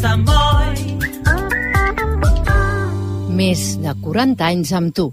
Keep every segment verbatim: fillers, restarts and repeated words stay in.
Sant Boi. Més de quaranta anys amb tu.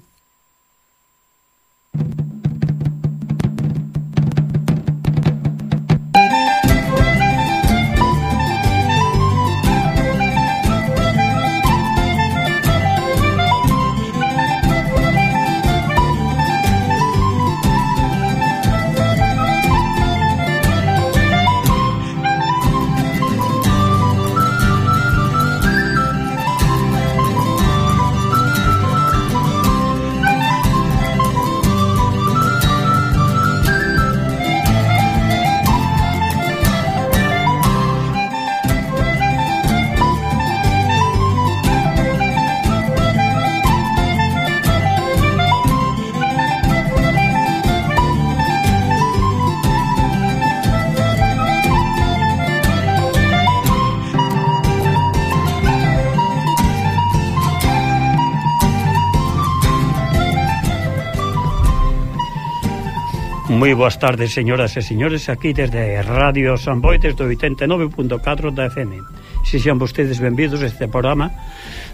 Moi boas tardes, señoras e señores, aquí desde Radio San Boi, desde oitenta e nove punto catro da F M. Sexan vostedes benvidos a este programa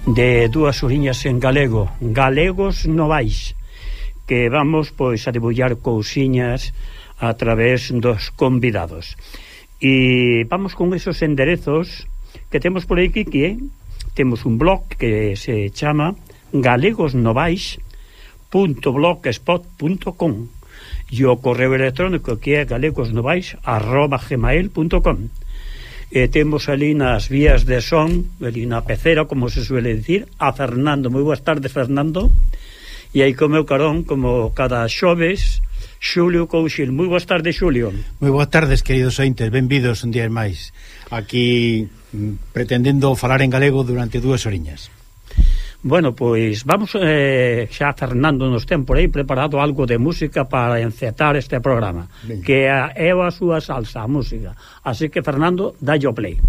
de dúas horiñas en galego, Galegos Novais, que vamos, pois, a debullar cousiñas a través dos convidados. E vamos con esos enderezos que temos por aquí, que temos un blog que se chama galegosnovais punto blogspot punto com e o correo electrónico que é galegosnovais arroba gmail punto com. E temos ali nas vías de son, ali na pecera, como se suele dicir, a Fernando. Moi boas tardes, Fernando. E aí co meu carón, como cada xoves, Xulio Couchil. Moi boas tardes, Xulio. Moi boas tardes, queridos ointes, benvidos un día máis. Aquí pretendendo falar en galego durante dúas horiñas. Bueno, pois vamos, eh, xa Fernando nos ten por aí preparado algo de música para encetar este programa. Bien. Que é a súa salsa, a música. Así que, Fernando, dalle o play.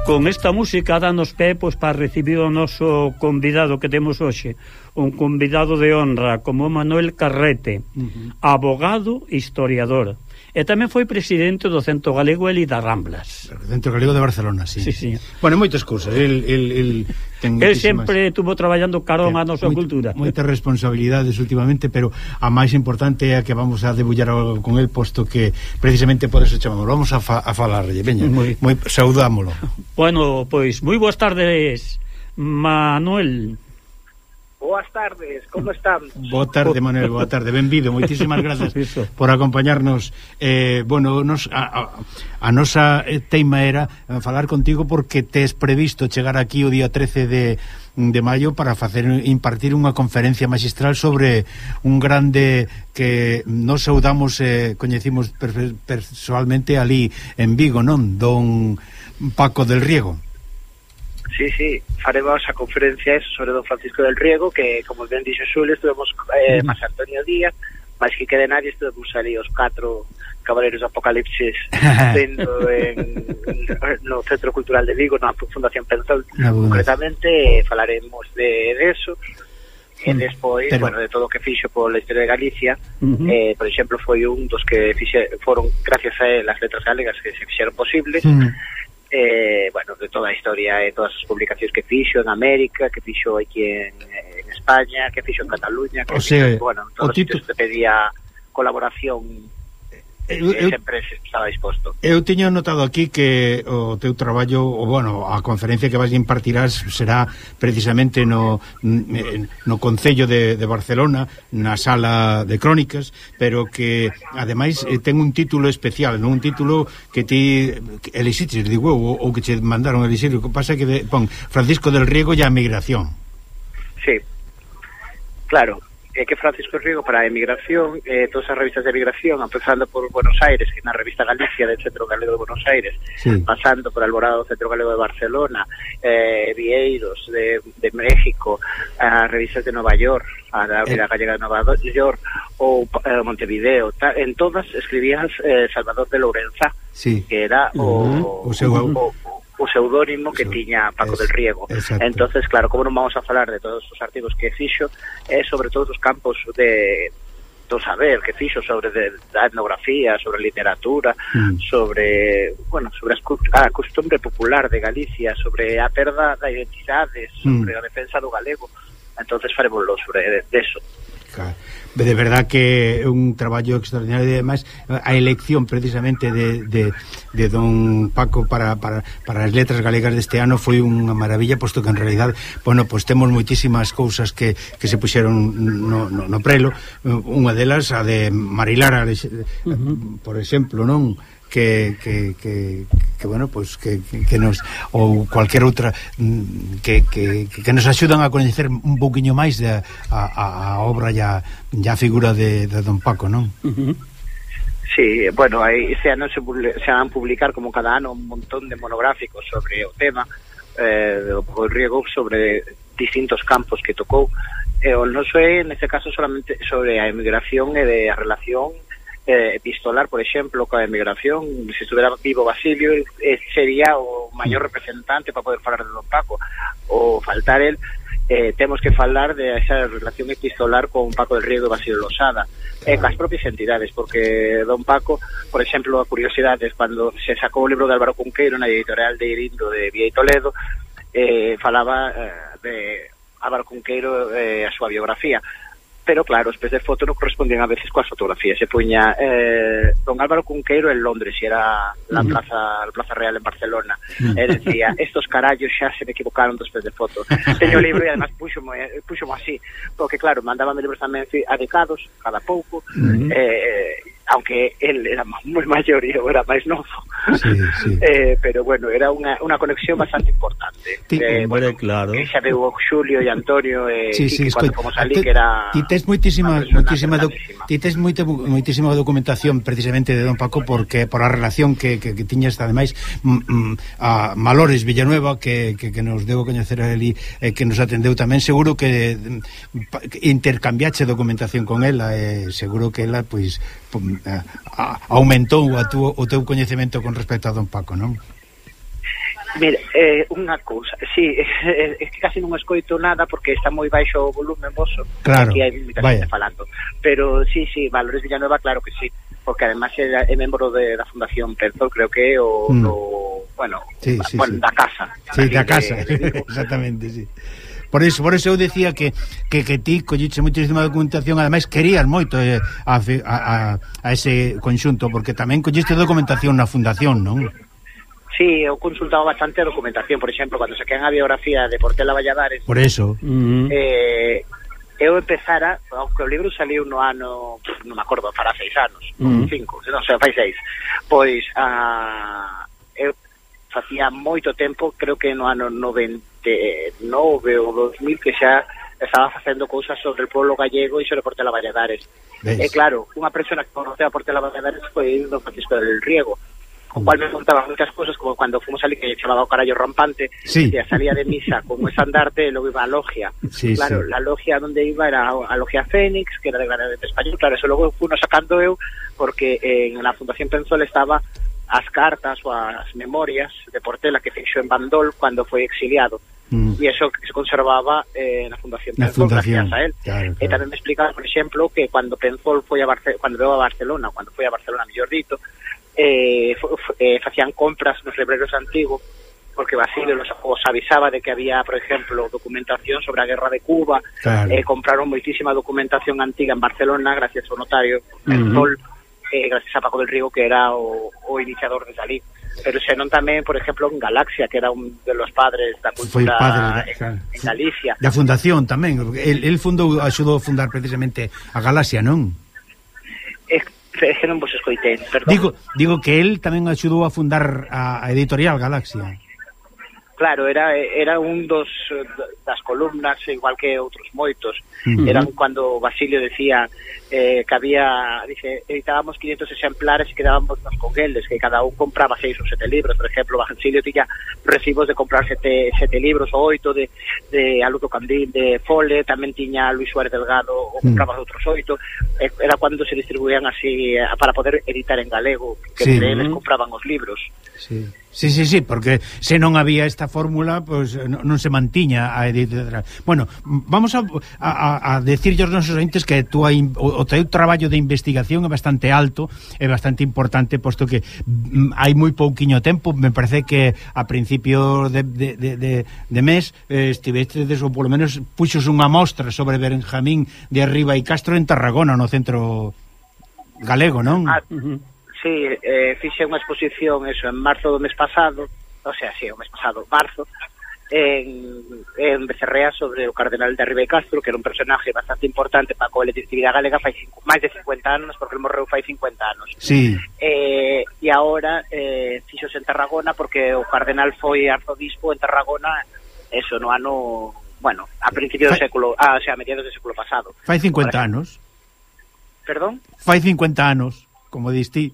Con esta música danos pé, pois, para recibir o noso convidado que temos hoxe, un convidado de honra como Manuel Carrete, uh-huh. abogado e historiador, e tamén foi presidente do Centro Galego Eli das Ramblas. O Centro Galego de Barcelona, sí. Sí, sí. Bueno, moitas cousas. El, el, el, ten el sempre estuvo traballando carón a nosa moita, cultura. Moitas responsabilidades últimamente, pero a máis importante é a que vamos a debullar con el, posto que precisamente por eso chamamos. Vamos a, fa, a falarlle, veña, moi, moi, saudámolo. Bueno, pois, moi boas tardes, Manuel. Boas tardes, como están? Boa tarde, Manuel, boa tarde, benvido. Moitísimas grazas por acompañarnos. Eh, bueno, nos, a, a, a nosa teima era falar contigo porque tes previsto chegar aquí o día trece de, de maio para facer impartir unha conferencia magistral sobre un grande que nos saudamos e eh, coñecimos personalmente ali en Vigo, non? Don Paco del Riego. Sí, sí, faremos a conferencia eso sobre don Francisco del Riego, que, como ben dixo Xulio, estuvemos eh, máis Antonio Díaz, máis que quede nadie, estuvemos ali os catro Caballeros do Apocalipsis dentro en, no Centro Cultural de Vigo, na Fundación Pensol, no, concretamente, falaremos de, de eso. E despois, pero... bueno, de todo o que fixo pola historia de Galicia, uh-huh. eh, por exemplo, foi un dos que fixe, foron gracias a él as letras galegas que se fixeron posibles, uh-huh. eh, bueno, de toda a historia e todas as publicacións que fixo en América, que fixo aquí en, en España, que fixo en Cataluña, que o sea, fixo, bueno, en todos os sitios que pedía colaboración. Eu, eu, sempre estaba disposto. Eu teño notado aquí que o teu traballo, o bueno, a conferencia que vais impartirás será precisamente no no Concello de, de Barcelona, na Sala de Crónicas, pero que ademais ten un título especial, non un título que ti elixiches, digo, ou, ou que che mandaron a elixir, o que pasa é que de, pon Francisco del Riego e a migración. Sí, claro. É que Francisco Riego para a emigración, eh, todas as revistas de emigración, empezando por Buenos Aires, que na revista Galicia del Centro Galego de Buenos Aires, sí. pasando por Alborada do Centro Galego de Barcelona, eh, Vieiros de, de México, as revistas de Nova York, a la eh. Gallega de Nova York, ou eh, Montevideo, ta, en todas escribías eh, Salvador de Lourenza, sí. que era o, uh-huh. o, seu... o, o o pseudónimo que tiña Paco es, del Riego. Exacto. Entonces, claro, como non vamos a falar de todos os artigos que fixo, é sobre todos os campos de do saber que fixo sobre de, da etnografía, sobre literatura, mm. sobre, bueno, sobre a costumbre popular de Galicia, sobre a perda da identidade, sobre mm. a defensa do galego. Entonces faremoslo sobre de, de eso. Claro. De verdad que é un traballo extraordinario e ademais a elección precisamente de, de, de don Paco para, para, para as letras galegas deste ano foi unha maravilla, posto que en realidad, bueno, pois pues temos moitísimas cousas que, que se puxeron no, no, no prelo, unha delas a de Marilara, uh-huh. por exemplo, non? Que, que, que, que bueno, pues que, que nos ou cualquier outra que, que, que nos axudan a coñecer un pouquiño máis de, a, a obra e a, a figura de, de don Paco, non? Uh-huh. Sí, bueno, aí se ano se, se van publicar como cada ano un montón de monográficos sobre o tema eh, do Paco Riego, sobre distintos campos que tocou, e o noso é, neste caso, solamente sobre a emigración e de a relación Eh, epistolar, por exemplo, coa emigración. Se estuvera vivo Basilio, eh, sería o maior representante para poder falar de don Paco. O faltar el, eh, temos que falar de esa relación epistolar con Paco del Riego e Basilio Losada, e eh, cas propias entidades, porque don Paco, por exemplo, a curiosidade, cando se sacou o libro de Álvaro Cunqueiro na editorial de Irindo de Vía e Toledo, eh, falaba eh, de Álvaro Cunqueiro e eh, a súa biografía. Pero claro, os pés de foto non correspondían a veces coas fotografías. Se puña eh, don Álvaro Cunqueiro en Londres e era la uh-huh. plaza la Plaza Real en Barcelona. Uh-huh. E decía, estos carallos xa se me equivocaron dos pés de foto. Teño o libro e además puxomo, puxomo así, porque claro, mandábame libros tamén adecados cada pouco, uh-huh. eh, aunque él era moi maior e eu era máis novo. Sí, sí. Eh, pero bueno, era unha, unha conexión bastante importante. Sí, eh, bueno, claro. Que xa veu Xulio e Antonio e sí, sí, cuando fomos ali, que era... Ti tes moitísima, moitísima, do, ti tes moita, moitísima documentación precisamente de don Paco, porque por a relación que, que, que tiñas ademais mm, a Malores Villanueva, que, que, que nos deu coñecer a eli, eh, que nos atendeu tamén, seguro que, que intercambiache documentación con ela, e eh, seguro que ela, pois, A, a, aumentou a tu, o teu coñecemento con respecto a don Paco, non? Mira, eh, unha cousa, sí, é, é que casi non escoito nada porque está moi baixo o volumen voso, claro, aquí hai moita xente falando, pero sí, sí, Valores Villanueva, claro que sí, porque además é, é membro de, da Fundación Pensol, creo que é o, mm. o bueno, sí, sí, bueno, sí. da casa. Sí, da casa, de, exactamente, sí. Por eso, por eso eu decía que, que, que ti colliche moitísima documentación, ademais querías moito eh, a, a, a ese conxunto, porque tamén colliste documentación na fundación, non? Sí, eu consultaba bastante a documentación, por exemplo, cando saquean a biografía de Portela Valladares. Por eso. Uh-huh. Eh, eu empezara, aunque o libro saliu no ano, non me acordo, fará seis anos, uh-huh. cinco, non sei, fai seis, pois a... eu facía moito tempo, creo que no ano noventa e nove ou dos mil, que xa estaba facendo cousas sobre o pueblo gallego e sobre Portela Valladares. E claro, unha persona que conoceu a Portela Valladares foi don Francisco del Riego, o cual me contaban moitas cosas, como cando fomos ali que chamaba o carallo rampante, sí. que salía de misa con un estandarte e logo iba a logia. Sí, claro, sí. la logia donde iba era a logia Fénix, que era de Granadete Español, claro, eso logo fui sacando eu, porque en la Fundación Penzol estaba as cartas ou as memorias de Portela que fixo en Bandol cando foi exiliado. Mm. E eso que se conservaba eh, na Fundación Penzol, gracias a él. Claro, claro. E tamén me explicaba, por exemplo, que cando Penzol foi a Barcelona, cando veo a Barcelona, cando foi a Barcelona, mellor dito, eh, eh, facían compras nos libreros antigos, porque Basilio los, os avisaba de que había, por exemplo, documentación sobre a guerra de Cuba, claro. eh, compraron moitísima documentación antiga en Barcelona gracias ao notario Penzol, uh-huh. eh, gracias a Paco del Río, que era o, o iniciador de Salí. Pero senón tamén, por exemplo, en Galaxia, que era un de los padres da cultura padre, en, claro. en Galicia. Da fundación tamén, el, el fundou, axudou a fundar precisamente a Galaxia, non? É que non vos escoitei, perdón. Digo, digo que el tamén axudou a fundar a, a editorial Galaxia. Claro, era era un dos das columnas, igual que outros moitos. Uh-huh. Eran cando Basilio decía eh, que había, dice, editábamos quinientos exemplares e quedábamos nos con eles, que cada un compraba seis ou sete libros. Por exemplo, Basilio tiña recibos de comprar sete, sete libros ou oito de, de Aludo Candil, de Fole, tamén tiña Luis Suárez Delgado, ou compraba uh-huh. outros oito. Eh, era cando se distribuían así eh, para poder editar en galego, que sí. eles uh-huh. compraban os libros. Sí. Sí, sí, sí, porque se non había esta fórmula, pois pues, non, non se mantiña a editorial. Bueno, vamos a, a, a decirlle aos nosos ointes que túa, o, o teu traballo de investigación é bastante alto, é bastante importante, posto que mm, hai moi pouquiño tempo, me parece que a principio de, de, de, de, de mes eh, estivestes, ou polo menos puxos unha mostra sobre Benjamín de Arriba e Castro en Tarragona, no centro galego, non? Ah, uh-huh. Sí, eh, fixe unha exposición eso en marzo do mes pasado, o sea, sí, o mes pasado, marzo, en, en Becerrea sobre o cardenal de Arriba e Castro, que era un personaje bastante importante para a colectividade galega fai cinco, máis de cincuenta anos, porque ele morreu fai cincuenta anos. Sí. Eh, e agora eh, fixos en Tarragona porque o cardenal foi arzobispo en Tarragona, eso, no ano, bueno, a principios do século, ah, o sea, a mediados do século pasado. Fai cincuenta anos. Perdón? Fai cincuenta anos, como diste.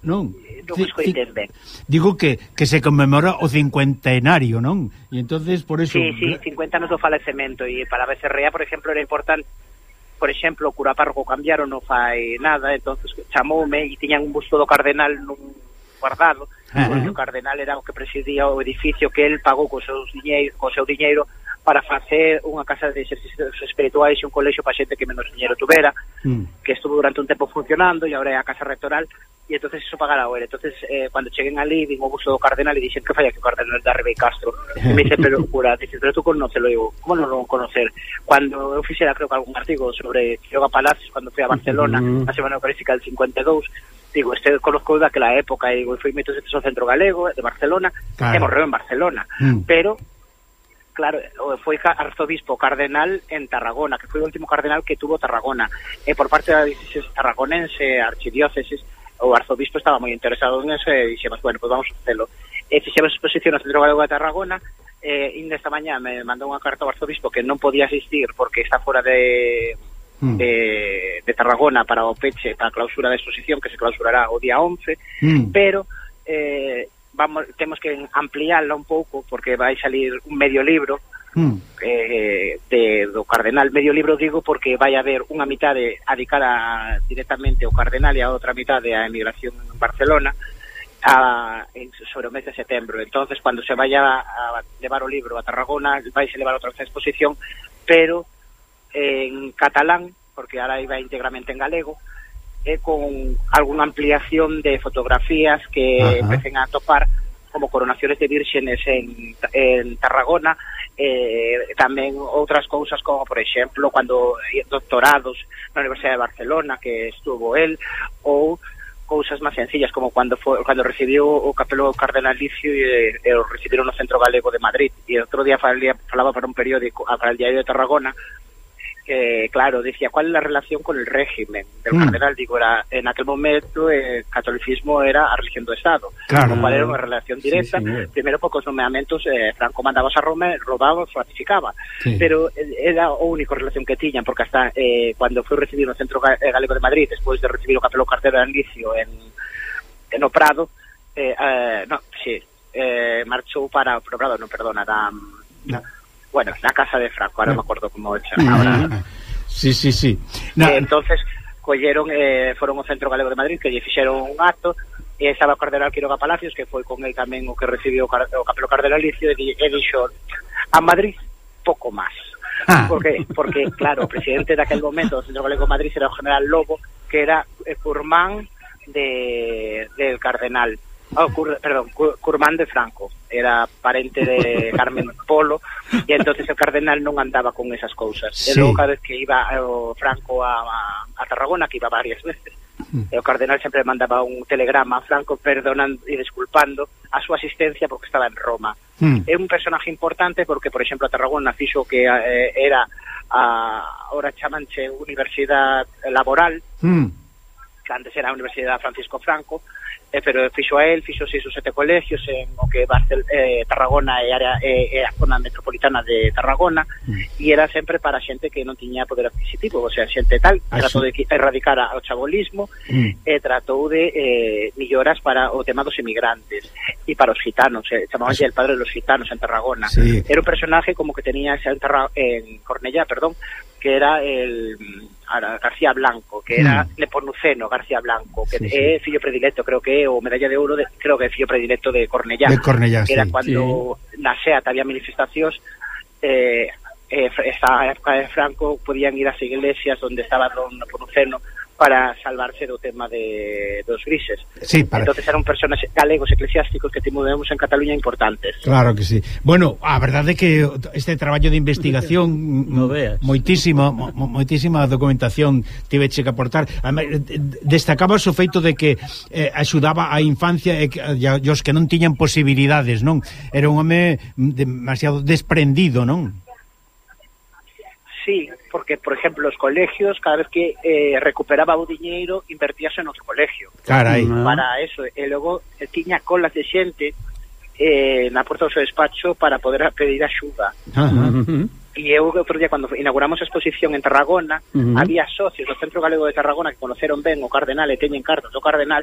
Non, non escoitei ben. Digo que, que se conmemora o cincuentenario, non? E entonces por eso... Sí, sí, cincuenta anos do falecemento, e para Becerrea, por exemplo, era importante, por exemplo, o cura párroco cambiaron, non fai nada, entonces chamoume e tiñan un busto do cardenal nun guardado, uh-huh. porque o cardenal era o que presidía o edificio que el pagou co seu diñeiro, co seu diñeiro para facer unha casa de exercicios espirituais e un colexio para xente que menos diñeiro tuvera, mm. que estuvo durante un tempo funcionando e agora é a casa rectoral, e entonces iso pagara o ele. Entonces, eh, cando cheguen ali, vin o busto do cardenal e dixen que falla que o cardenal de Arriba e Castro. E me dice, pero cura, dice, pero tú conócelo, digo, como non lo conocer? Cando eu fixera, creo que algún artigo sobre Quiroga Palacios, cando fui a Barcelona, mm. a Semana Eucarística del cincuenta e dous, digo, este conozco daquela época, e digo, foi metos ao centro galego de Barcelona, claro. e morreu en Barcelona, mm. pero claro, foi arzobispo cardenal en Tarragona, que foi o último cardenal que tuvo Tarragona, e por parte da diócesis tarragonense, archidiócesis, o arzobispo estaba moi interesado en eso, e dixemos, bueno, pues vamos a facelo. E fixemos exposición no Centro Galego de Tarragona, e eh, esta mañá me mandou unha carta ao arzobispo que non podía asistir porque está fora de, mm. de, de Tarragona para o peche, para a clausura da exposición, que se clausurará o día once, mm. pero... Eh, vamos, temos que ampliarla un pouco porque vai salir un medio libro mm. eh, de, do cardenal. Medio libro digo porque vai haber unha mitade dedicada directamente ao cardenal e a outra mitade á emigración en Barcelona a, en, sobre o mes de setembro. Entonces, cando se vaya a levar o libro a Tarragona, vai se levar outra exposición, pero en catalán, porque ahora iba íntegramente en galego, eh, con alguna ampliación de fotografías que Ajá. empecen a topar como coronaciones de vírgenes en, en Tarragona, eh, tamén outras cousas como, por exemplo, cando doctorados na Universidade de Barcelona que estuvo él, ou cousas máis sencillas como cando foi, cando recibiu o capelo cardenalicio e, e o recibiron no Centro Galego de Madrid, e outro día falaba, falaba para un periódico, para el Diario de Tarragona, que, claro, decía, ¿cuál es la relación con el régimen del mm. cardenal? Digo, era, en aquel momento el catolicismo era a religión do Estado, claro. Con cual era unha relación directa. Sí, sí. Primero, porque os nomeamentos, eh, Franco mandaba a Roma, robaba, ratificaba, sí. Pero era a única relación que tiñan, porque hasta eh, cuando foi recibido no Centro Galego de Madrid, despois de recibir o capelo cardenalicio en no Prado, eh, eh, no, sí, eh, marchou para o Prado, non, perdona, da, no. bueno, na casa de Franco, ahora no. me acordo como é ahora. Sí, sí, sí. No. Eh, entonces, colleron, eh, foron ao Centro Galego de Madrid, que lle fixeron un acto, e estaba o cardenal Quiroga Palacios, que foi con el tamén o que recibiu o, car o capelo cardenalicio, e, e dixo, a Madrid, pouco máis. Ah. Porque, porque, claro, o presidente daquel momento do Centro Galego de Madrid era o general Lobo, que era eh, curmán de, del cardenal, oh, cur, perdón, cur, curmán de Franco, era parente de Carmen Polo, e entonces el cardenal non andaba con esas cousas. Sí. E logo cada vez que iba o Franco a, a, a Tarragona, que iba varias veces, mm. o cardenal sempre mandaba un telegrama a Franco perdonando e disculpando a súa asistencia porque estaba en Roma. Mm. É un personaje importante porque, por exemplo, a Tarragona fixo que eh, era a, ahora chamanche Universidade Laboral, mm. que antes era a Universidade Francisco Franco, eh, pero fixo a él, fixo seis ou sete colegios en o que Barcel, eh, Tarragona e área e eh, a zona metropolitana de Tarragona, mm. e era sempre para xente que non tiña poder adquisitivo, o sea, xente tal, ah, tratou sí. de erradicar o chabolismo, mm. e tratou de eh, melloras para o tema dos emigrantes e para os gitanos, eh, chamabanlle ah, el padre de los gitanos en Tarragona. Sí. Era un personaje como que tenía ese en, en Cornellá, perdón, que era el García Blanco, que era mm. Nepomuceno García Blanco, que sí, é sí. fillo predilecto, creo que é o medalla de ouro, de, creo que é fillo predilecto de Cornellá, de Cornellá que sí. era cando sí. na SEAT había manifestacións, eh, eh, esa época de Franco podían ir ás iglesias onde estaba don Nepomuceno para salvarse do tema de dos grises. Sí, para... Entonces eran personas galegos eclesiásticos que tivemos en Cataluña importantes. Claro que sí. Bueno, a verdade é que este traballo de investigación no veas. Moitísima, mo, moitísima documentación tiveche que aportar. Destacabas o feito de que eh, axudaba a infancia e, e os que non tiñan posibilidades, non? Era un home demasiado desprendido, non? Sí, porque, por ejemplo, los colegios, cada vez que eh, recuperaba o diñeiro, invertíase en outro colegio. Carai. Para eso. E logo eh, tiña colas de xente eh, na porta do seu despacho para poder pedir axuda. Uh-huh. E eu, outro día, cando inauguramos a exposición en Tarragona, uh-huh. había socios do Centro Galego de Tarragona que conoceron ben o cardenal e teñen cartas do cardenal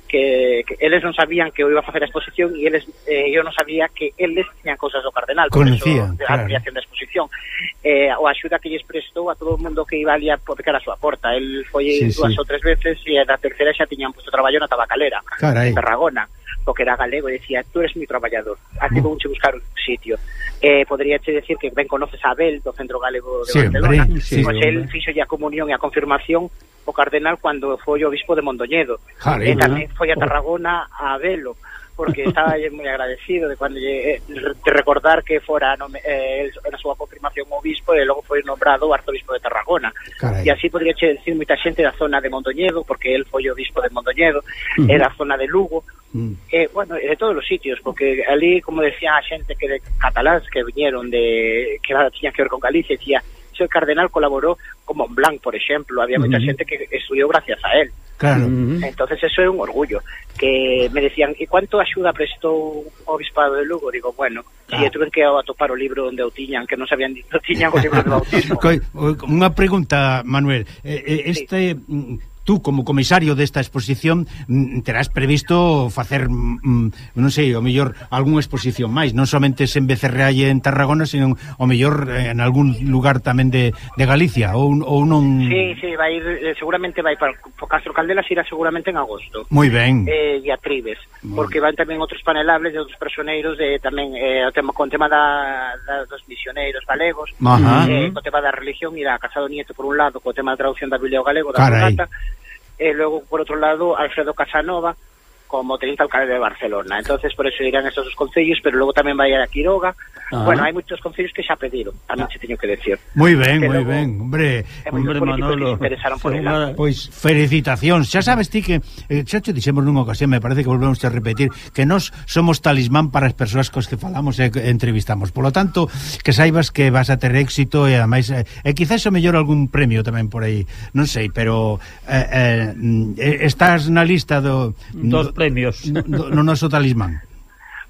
que, que eles non sabían que eu iba a facer a exposición e eles, eh, eu non sabía que eles tiñan cousas do cardenal, por Conocía, eso, claro. a creación da exposición. Eh, o axuda que lles prestou a todo o mundo que iba ali a pecar a súa porta. El foi sí, dúas sí. ou tres veces e na terceira xa tiñan puesto traballo na tabacalera en Tarragona, porque era galego e decía, tú eres mi traballador, aquí vou che buscar un sitio. Eh, podría che decir que ben conoces a Abel do Centro Galego de Siempre, Barcelona, sí, pois el fixo a comunión e a confirmación o cardenal cando foi o obispo de Mondoñedo. E tamén foi a Tarragona a velo, porque estaba moi agradecido de cuando lle, de recordar que fora no, eh, na súa confirmación o obispo e logo foi nombrado o arzobispo de Tarragona. Carai. E así podría che decir moita xente da zona de Mondoñedo, porque el foi o obispo de Mondoñedo, uh-huh. e da zona de Lugo, uh-huh. e, bueno, de todos os sitios, porque ali, como decía a xente que de cataláns que viñeron de que tiñan que ver con Galicia, decía, el cardenal colaboró con Montblanc, por ejemplo, había uh-huh. mucha gente que estudió gracias a él. Claro. Uh-huh. Entonces eso é un orgullo. Que me decían, ¿y cuánto axuda prestou o obispado de Lugo? Digo, bueno, ah. e tuve que atopar o libro onde o tiñan, que non sabían, non tiñan o libro de bautismo. Unha pregunta, Manuel, este... Sí. Tú, como comisario desta exposición, terás previsto facer, non sei, o mellor algunha exposición máis, non somente en Becerreá e en Tarragona, sino o mellor en algún lugar tamén de, de Galicia, ou, ou non... Sí, sí, vai ir, seguramente vai para o Castro Caldelas, irá seguramente en agosto. Moi ben. Eh, e a Tribes, porque van tamén outros panelables de outros personeiros, de, tamén eh, o tema, con tema da, da, dos misioneiros galegos, eh, co tema da religión, irá Casado Nieto por un lado, co tema da traducción da Biblia ao galego, da Vulgata, e logo, por outro lado, Alfredo Casanova como teniente alcalde de Barcelona. Entonces, por eso irán estos dos concellos, pero logo tamén vai a Quiroga. Ajá. Bueno, hai moitos concellos que xa pediron, tamén se teño que decir. Moi ben, moi ben, hombre. Hombre, Manolo, interesaron por ela. Pois, felicitacións. Xa sabes ti que, eh, xa te dixemos nunha ocasión, me parece que volvemos a repetir, que nós somos talismán para as persoas cos que falamos e entrevistamos. Por lo tanto, que saibas que vas a ter éxito e ademais, e eh, quizás o mellor algún premio tamén por aí, non sei, pero eh, eh, estás na lista do... Dos premios no, no noso talismán.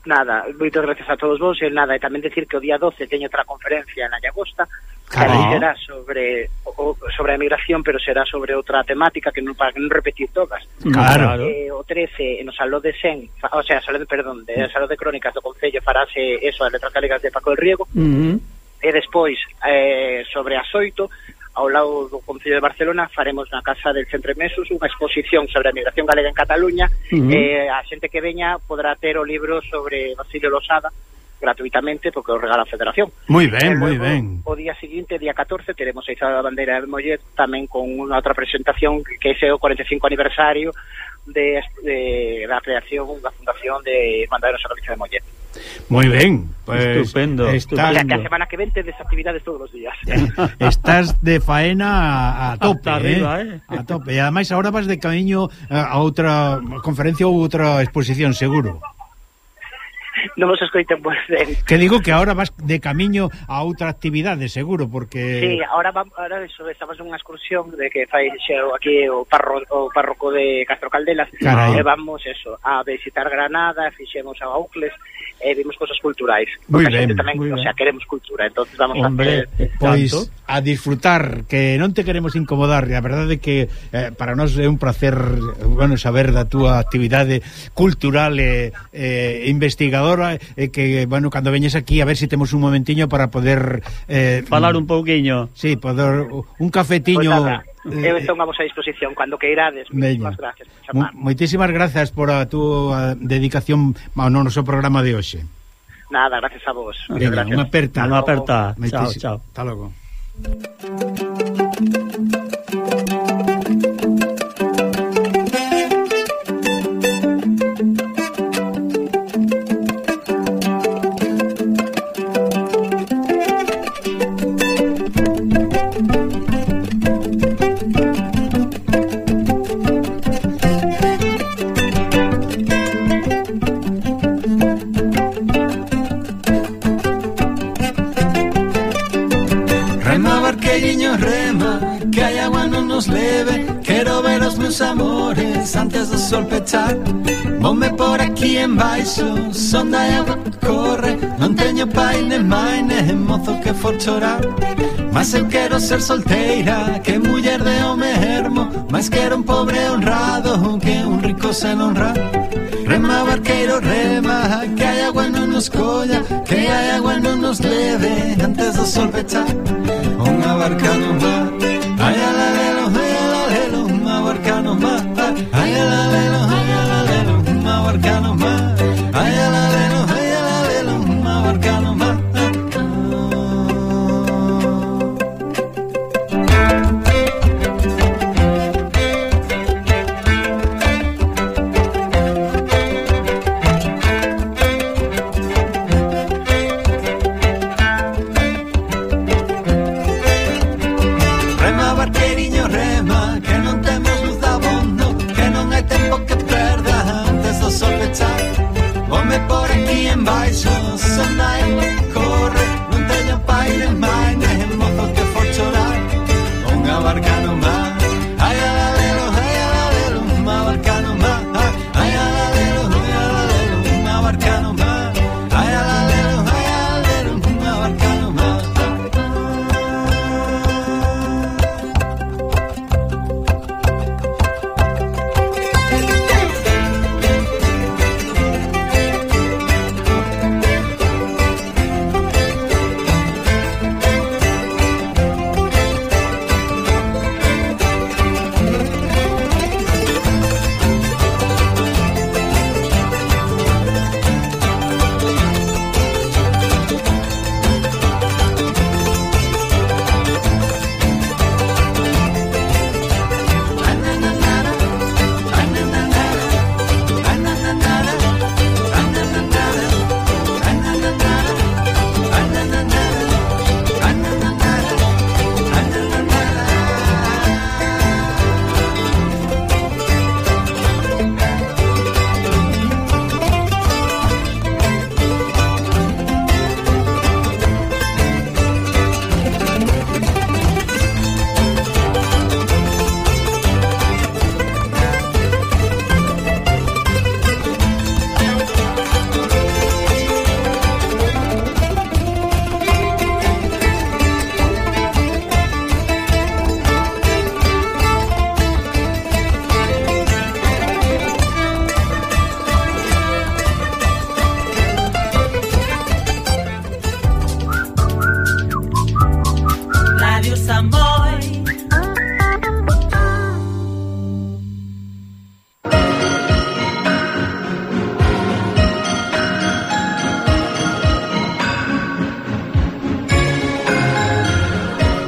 Nada, moitas gracias a todos vos, e nada, e tamén decir que o día doce teño outra conferencia na Llagosta, que Carai. será sobre o, sobre a migración, pero será sobre outra temática que non para non repetir todas. Claro. Eh, o trece no Salón de Sen, fa, o sea, Salón de, perdón, de Salón de Crónicas do Concello farase eso, as letras galegas de Paco del Riego. Uh -huh. E despois, eh, sobre as oito, ao lado do Concello de Barcelona, faremos na Casa del Centre Mesos unha exposición sobre a migración galega en Cataluña. Uh -huh. eh, a xente que veña podrá ter o libro sobre Basilio Losada gratuitamente, porque o regala a Federación. Moi ben, eh, moi luego, ben. O día seguinte, día catorce, teremos a Izada da Bandeira de Mollet, tamén con unha outra presentación que é o cuarenta e cinco aniversario de, de da creación da fundación de Bandeira Nosa Galicia de Mollet. Moi ben, pues, estupendo, estás, O sea, que a semana que ven tedes actividades todos os días. estás de faena a, a tope, Hasta arriba, eh? eh? A tope. E ademais agora vas de camiño a outra conferencia ou outra exposición, seguro. Non vos escoiten moi ben. Que digo que agora vas de camiño a outra actividade, seguro, porque... Sí, ahora vamos, ahora eso, estamos nunha excursión de que fai xeo aquí o, parro, o párroco de Castro Caldelas. Carai. E vamos eso, a visitar Granada, fixemos a Aucles, e vimos cosas culturais. Muy Porque a xente ben, tamén, muy o ben. sea, queremos cultura, entonces vamos Hombre, a hacer... Pois tanto. a disfrutar, que non te queremos incomodar, e a verdade é que eh, para nós é un placer, bueno, saber da túa actividade cultural e eh, investigadora, e que, bueno, cando veñes aquí a ver se si temos un momentiño para poder eh, Falar un pouquiño. sí, poder un cafetiño. Pois nada, eh, eu estou a vosa disposición cando queirades. Veña. Moitísimas gracias por Mo- chamar. Moitísimas grazas por a túa dedicación ao noso programa de hoxe. Nada, gracias a vos. Veña, Gracias. unha aperta. Unha aperta. Chao, Moitísi- chao. Hasta logo. Rema, barqueiriño, rema, que hai agua non nos leve. Quero ver os meus amores antes do sol pechar. Vome por aquí en baixo, son da agua que corre. Non teño pai nem mai, nem mozo que for chorar. Mas eu quero ser solteira, que muller de home ermo. Mas quero un pobre honrado, que un rico sen honrar. Rema, barqueiro, rema, que hai agua non nos colla, que hai agua non nos leve antes do sol pechar. Unha barca no mar, ai alalelo, ai alalelo, unha barca no mar, ai alalelo, ai alalelo, unha barca no mar, ai alalelo, ai alalelo, unha barca no mar. Rema, barqueiriño, rema, que non temos luz abondo, que non hai tempo que perda antes do sol pechar. Vome por aquí en baixo, son da agua que corre. Non teño pai nem mai, nem mozo que for chorar. Unha barca no mar, ai alalelo, ai alalelo, unha barca no mar, ai alalelo, ai alalelo, unha barca no mar, ai alalelo, ai alalelo, unha barca no mar.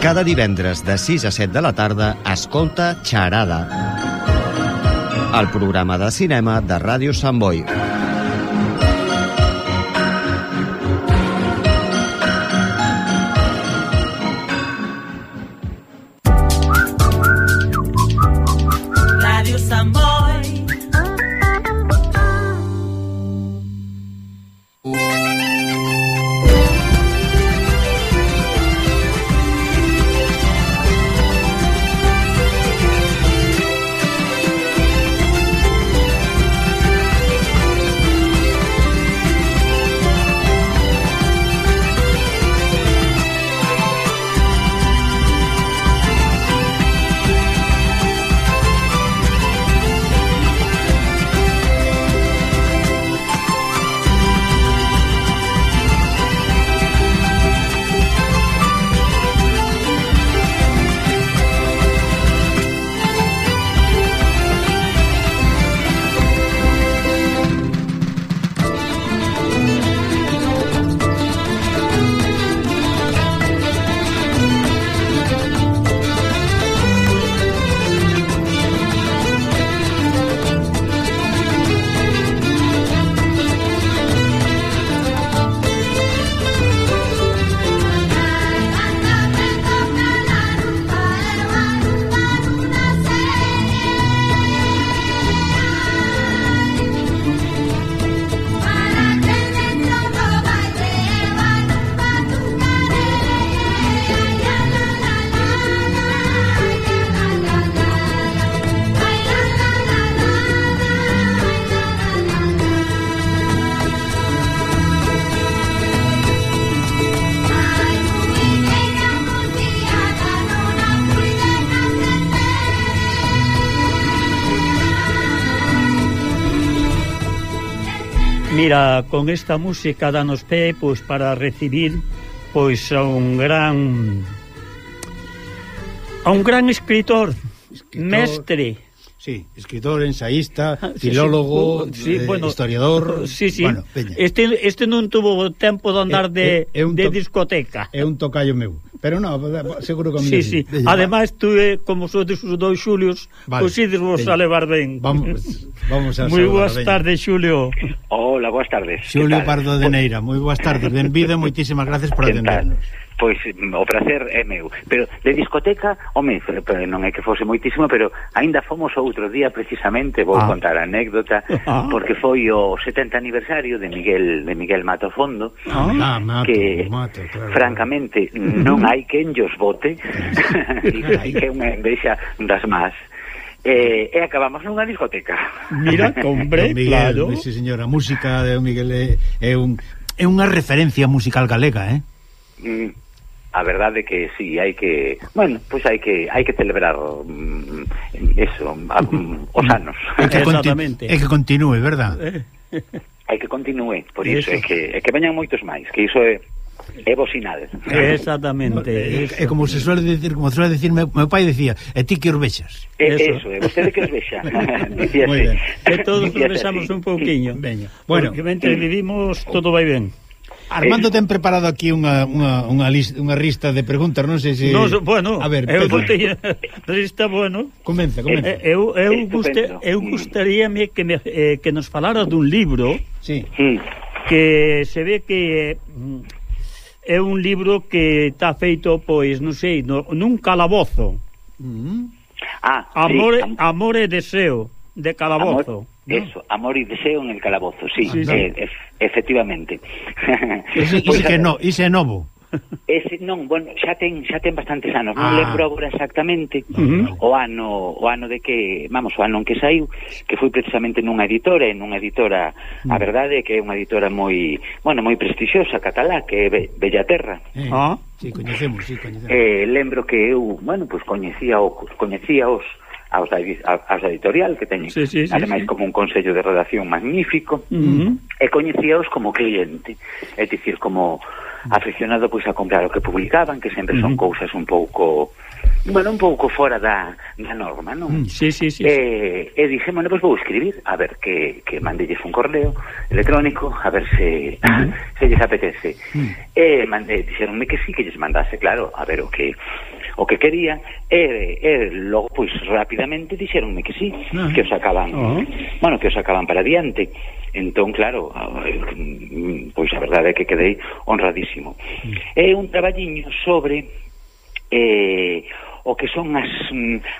Cada divendres de sis a set de la tarda escolta Xarada, el programa de cinema de Ràdio Sant Boi. Mira, con esta música danos pé pois para recibir pois a un gran a un gran escritor, escritor mestre. Sí, escritor, ensaísta, filólogo, sí, sí, eh, bueno, historiador. Sí, sí. Bueno, este este non tuvo tempo de andar de, é, é de discoteca. É un tocayo meu. Pero non, seguro que a mí sí, sí. Ademais, tú, como sodes os dous Xulios, vale, pois ides vos a levar ben. Vamos, vamos a moi boas tardes, Xulio. Hola, boas tardes. Xulio Pardo de Neira, moi boas tardes. Benvido, moitísimas gracias por atendernos. Pois o prazer é meu. Pero de discoteca, home, non é que fose moitísimo, pero aínda fomos outro día precisamente, vou ah. contar a anécdota, ah. porque foi o setenta aniversario de Miguel de Miguel Mato Fondo, ah, Mato, que Mato, claro, francamente non hai quen llos vote, hai que unha envexa das más. Eh, e acabamos nunha discoteca. Mira, hombre, Miguel, claro. Sí, señora, a música de Miguel é, é, un, é unha referencia musical galega, eh? Mm. A verdade que sí, hai que, bueno, pois pues hai que hai que celebrar um, eso, um, os anos. É que, conti é que continúe, verdad? Hai que continúe, por iso é que é que veñan moitos máis, que iso é é bo sinal. Exactamente. É, é como se suele decir, como suele decir meu, meu pai decía, e ti que os vexas. É eso, é vostede que os vexa. Dicíase. Que todos os vexamos un pouquiño. Veña. Bueno, porque mentre vivimos todo vai ben. Armando ten preparado aquí unha unha unha lista, unha lista de preguntas, non sei se no, bueno, a ver, eu botei lista, bueno. Comeza, comeza. Eh, eu eu guste, eu gustaríame que me eh, que nos falara dun libro. Sí. Que se ve que é un libro que está feito, pois, non sei, no, nun calabozo. Mm. Ah, Amor, sí. Amor e deseo de calabozo. Amor, ¿no? Eso, amor y deseo en el calabozo, sí, sí, sí. Eh, ef efectivamente. Ese, pues, ese que no, ese é novo. Ese non, bueno, xa ten xa ten bastantes anos, non ah. lembro agora exactamente uh-huh. o ano o ano de que, vamos, o ano en que saiu, que foi precisamente nunha editora, en nunha editora, uh-huh. a verdade é que é unha editora moi, bueno, moi prestixiosa catalá, que é Be Bellaterra. Eh, ah, sí, coñecemos, sí, coñecemos. Eh, lembro que eu, bueno, pois pues, coñecía o coñecía os aos da, aos da editorial que teñen, sí, sí, sí, ademais sí. como un consello de redacción magnífico, uh-huh. e coñecíaos como cliente, é dicir, como aficionado pois a comprar o que publicaban, que sempre son uh-huh. cousas un pouco, bueno, un pouco fora da, da norma, non? Sí, sí, sí. E, e dije, bueno, pois vou escribir, a ver que, que mandelles un correo electrónico, a ver se, uh-huh. se lles apetece. Uh-huh. E mandei, dixeronme que sí, que lles mandase, claro, a ver o que o que quería, e, e logo, pois, rapidamente dixeronme que sí, uh-huh. que os sacaban, uh-huh. bueno, que os sacaban para adiante. Entón, claro, pois a verdade é que quedei honradísimo. Uh-huh. É un traballiño sobre eh, o que son as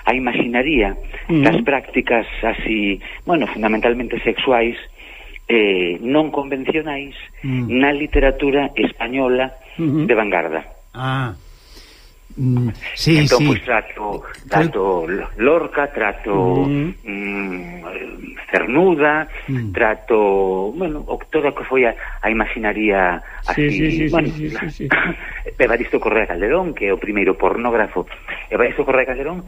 a imaginaría uh-huh. das prácticas así, bueno, fundamentalmente sexuais, eh, non convencionais uh-huh. na literatura española uh-huh. de vanguarda. Ah, mm, sí, entón, sí. Pois trato, trato Lorca, trato mm. Mm, Cernuda, mm. trato, bueno, toda que foi a, a imaginaría así, sí, sí, sí, bueno, sí, sí, sí. Evaristo Correa Calderón, que é o primeiro pornógrafo, Evaristo Correa Calderón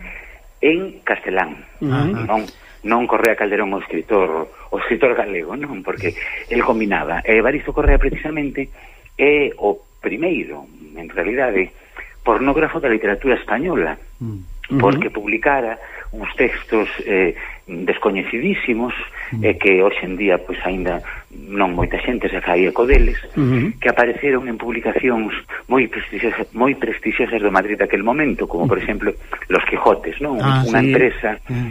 en castelán, uh-huh. non non Correa Calderón o escritor o escritor galego, non, porque el combinaba. Evaristo Correa precisamente é o primeiro, en realidade, pornógrafo da literatura española, uh-huh. porque publicara uns textos eh, descoñecidísimos, uh-huh. eh, que hoxe en día pois aínda non moita xente se fai eco deles, uh-huh. que apareceron en publicacións moi prestixiosas, moi prestixiosas do Madrid daquel momento, como por exemplo Los Quijotes, non? Ah, unha sí. empresa uh-huh.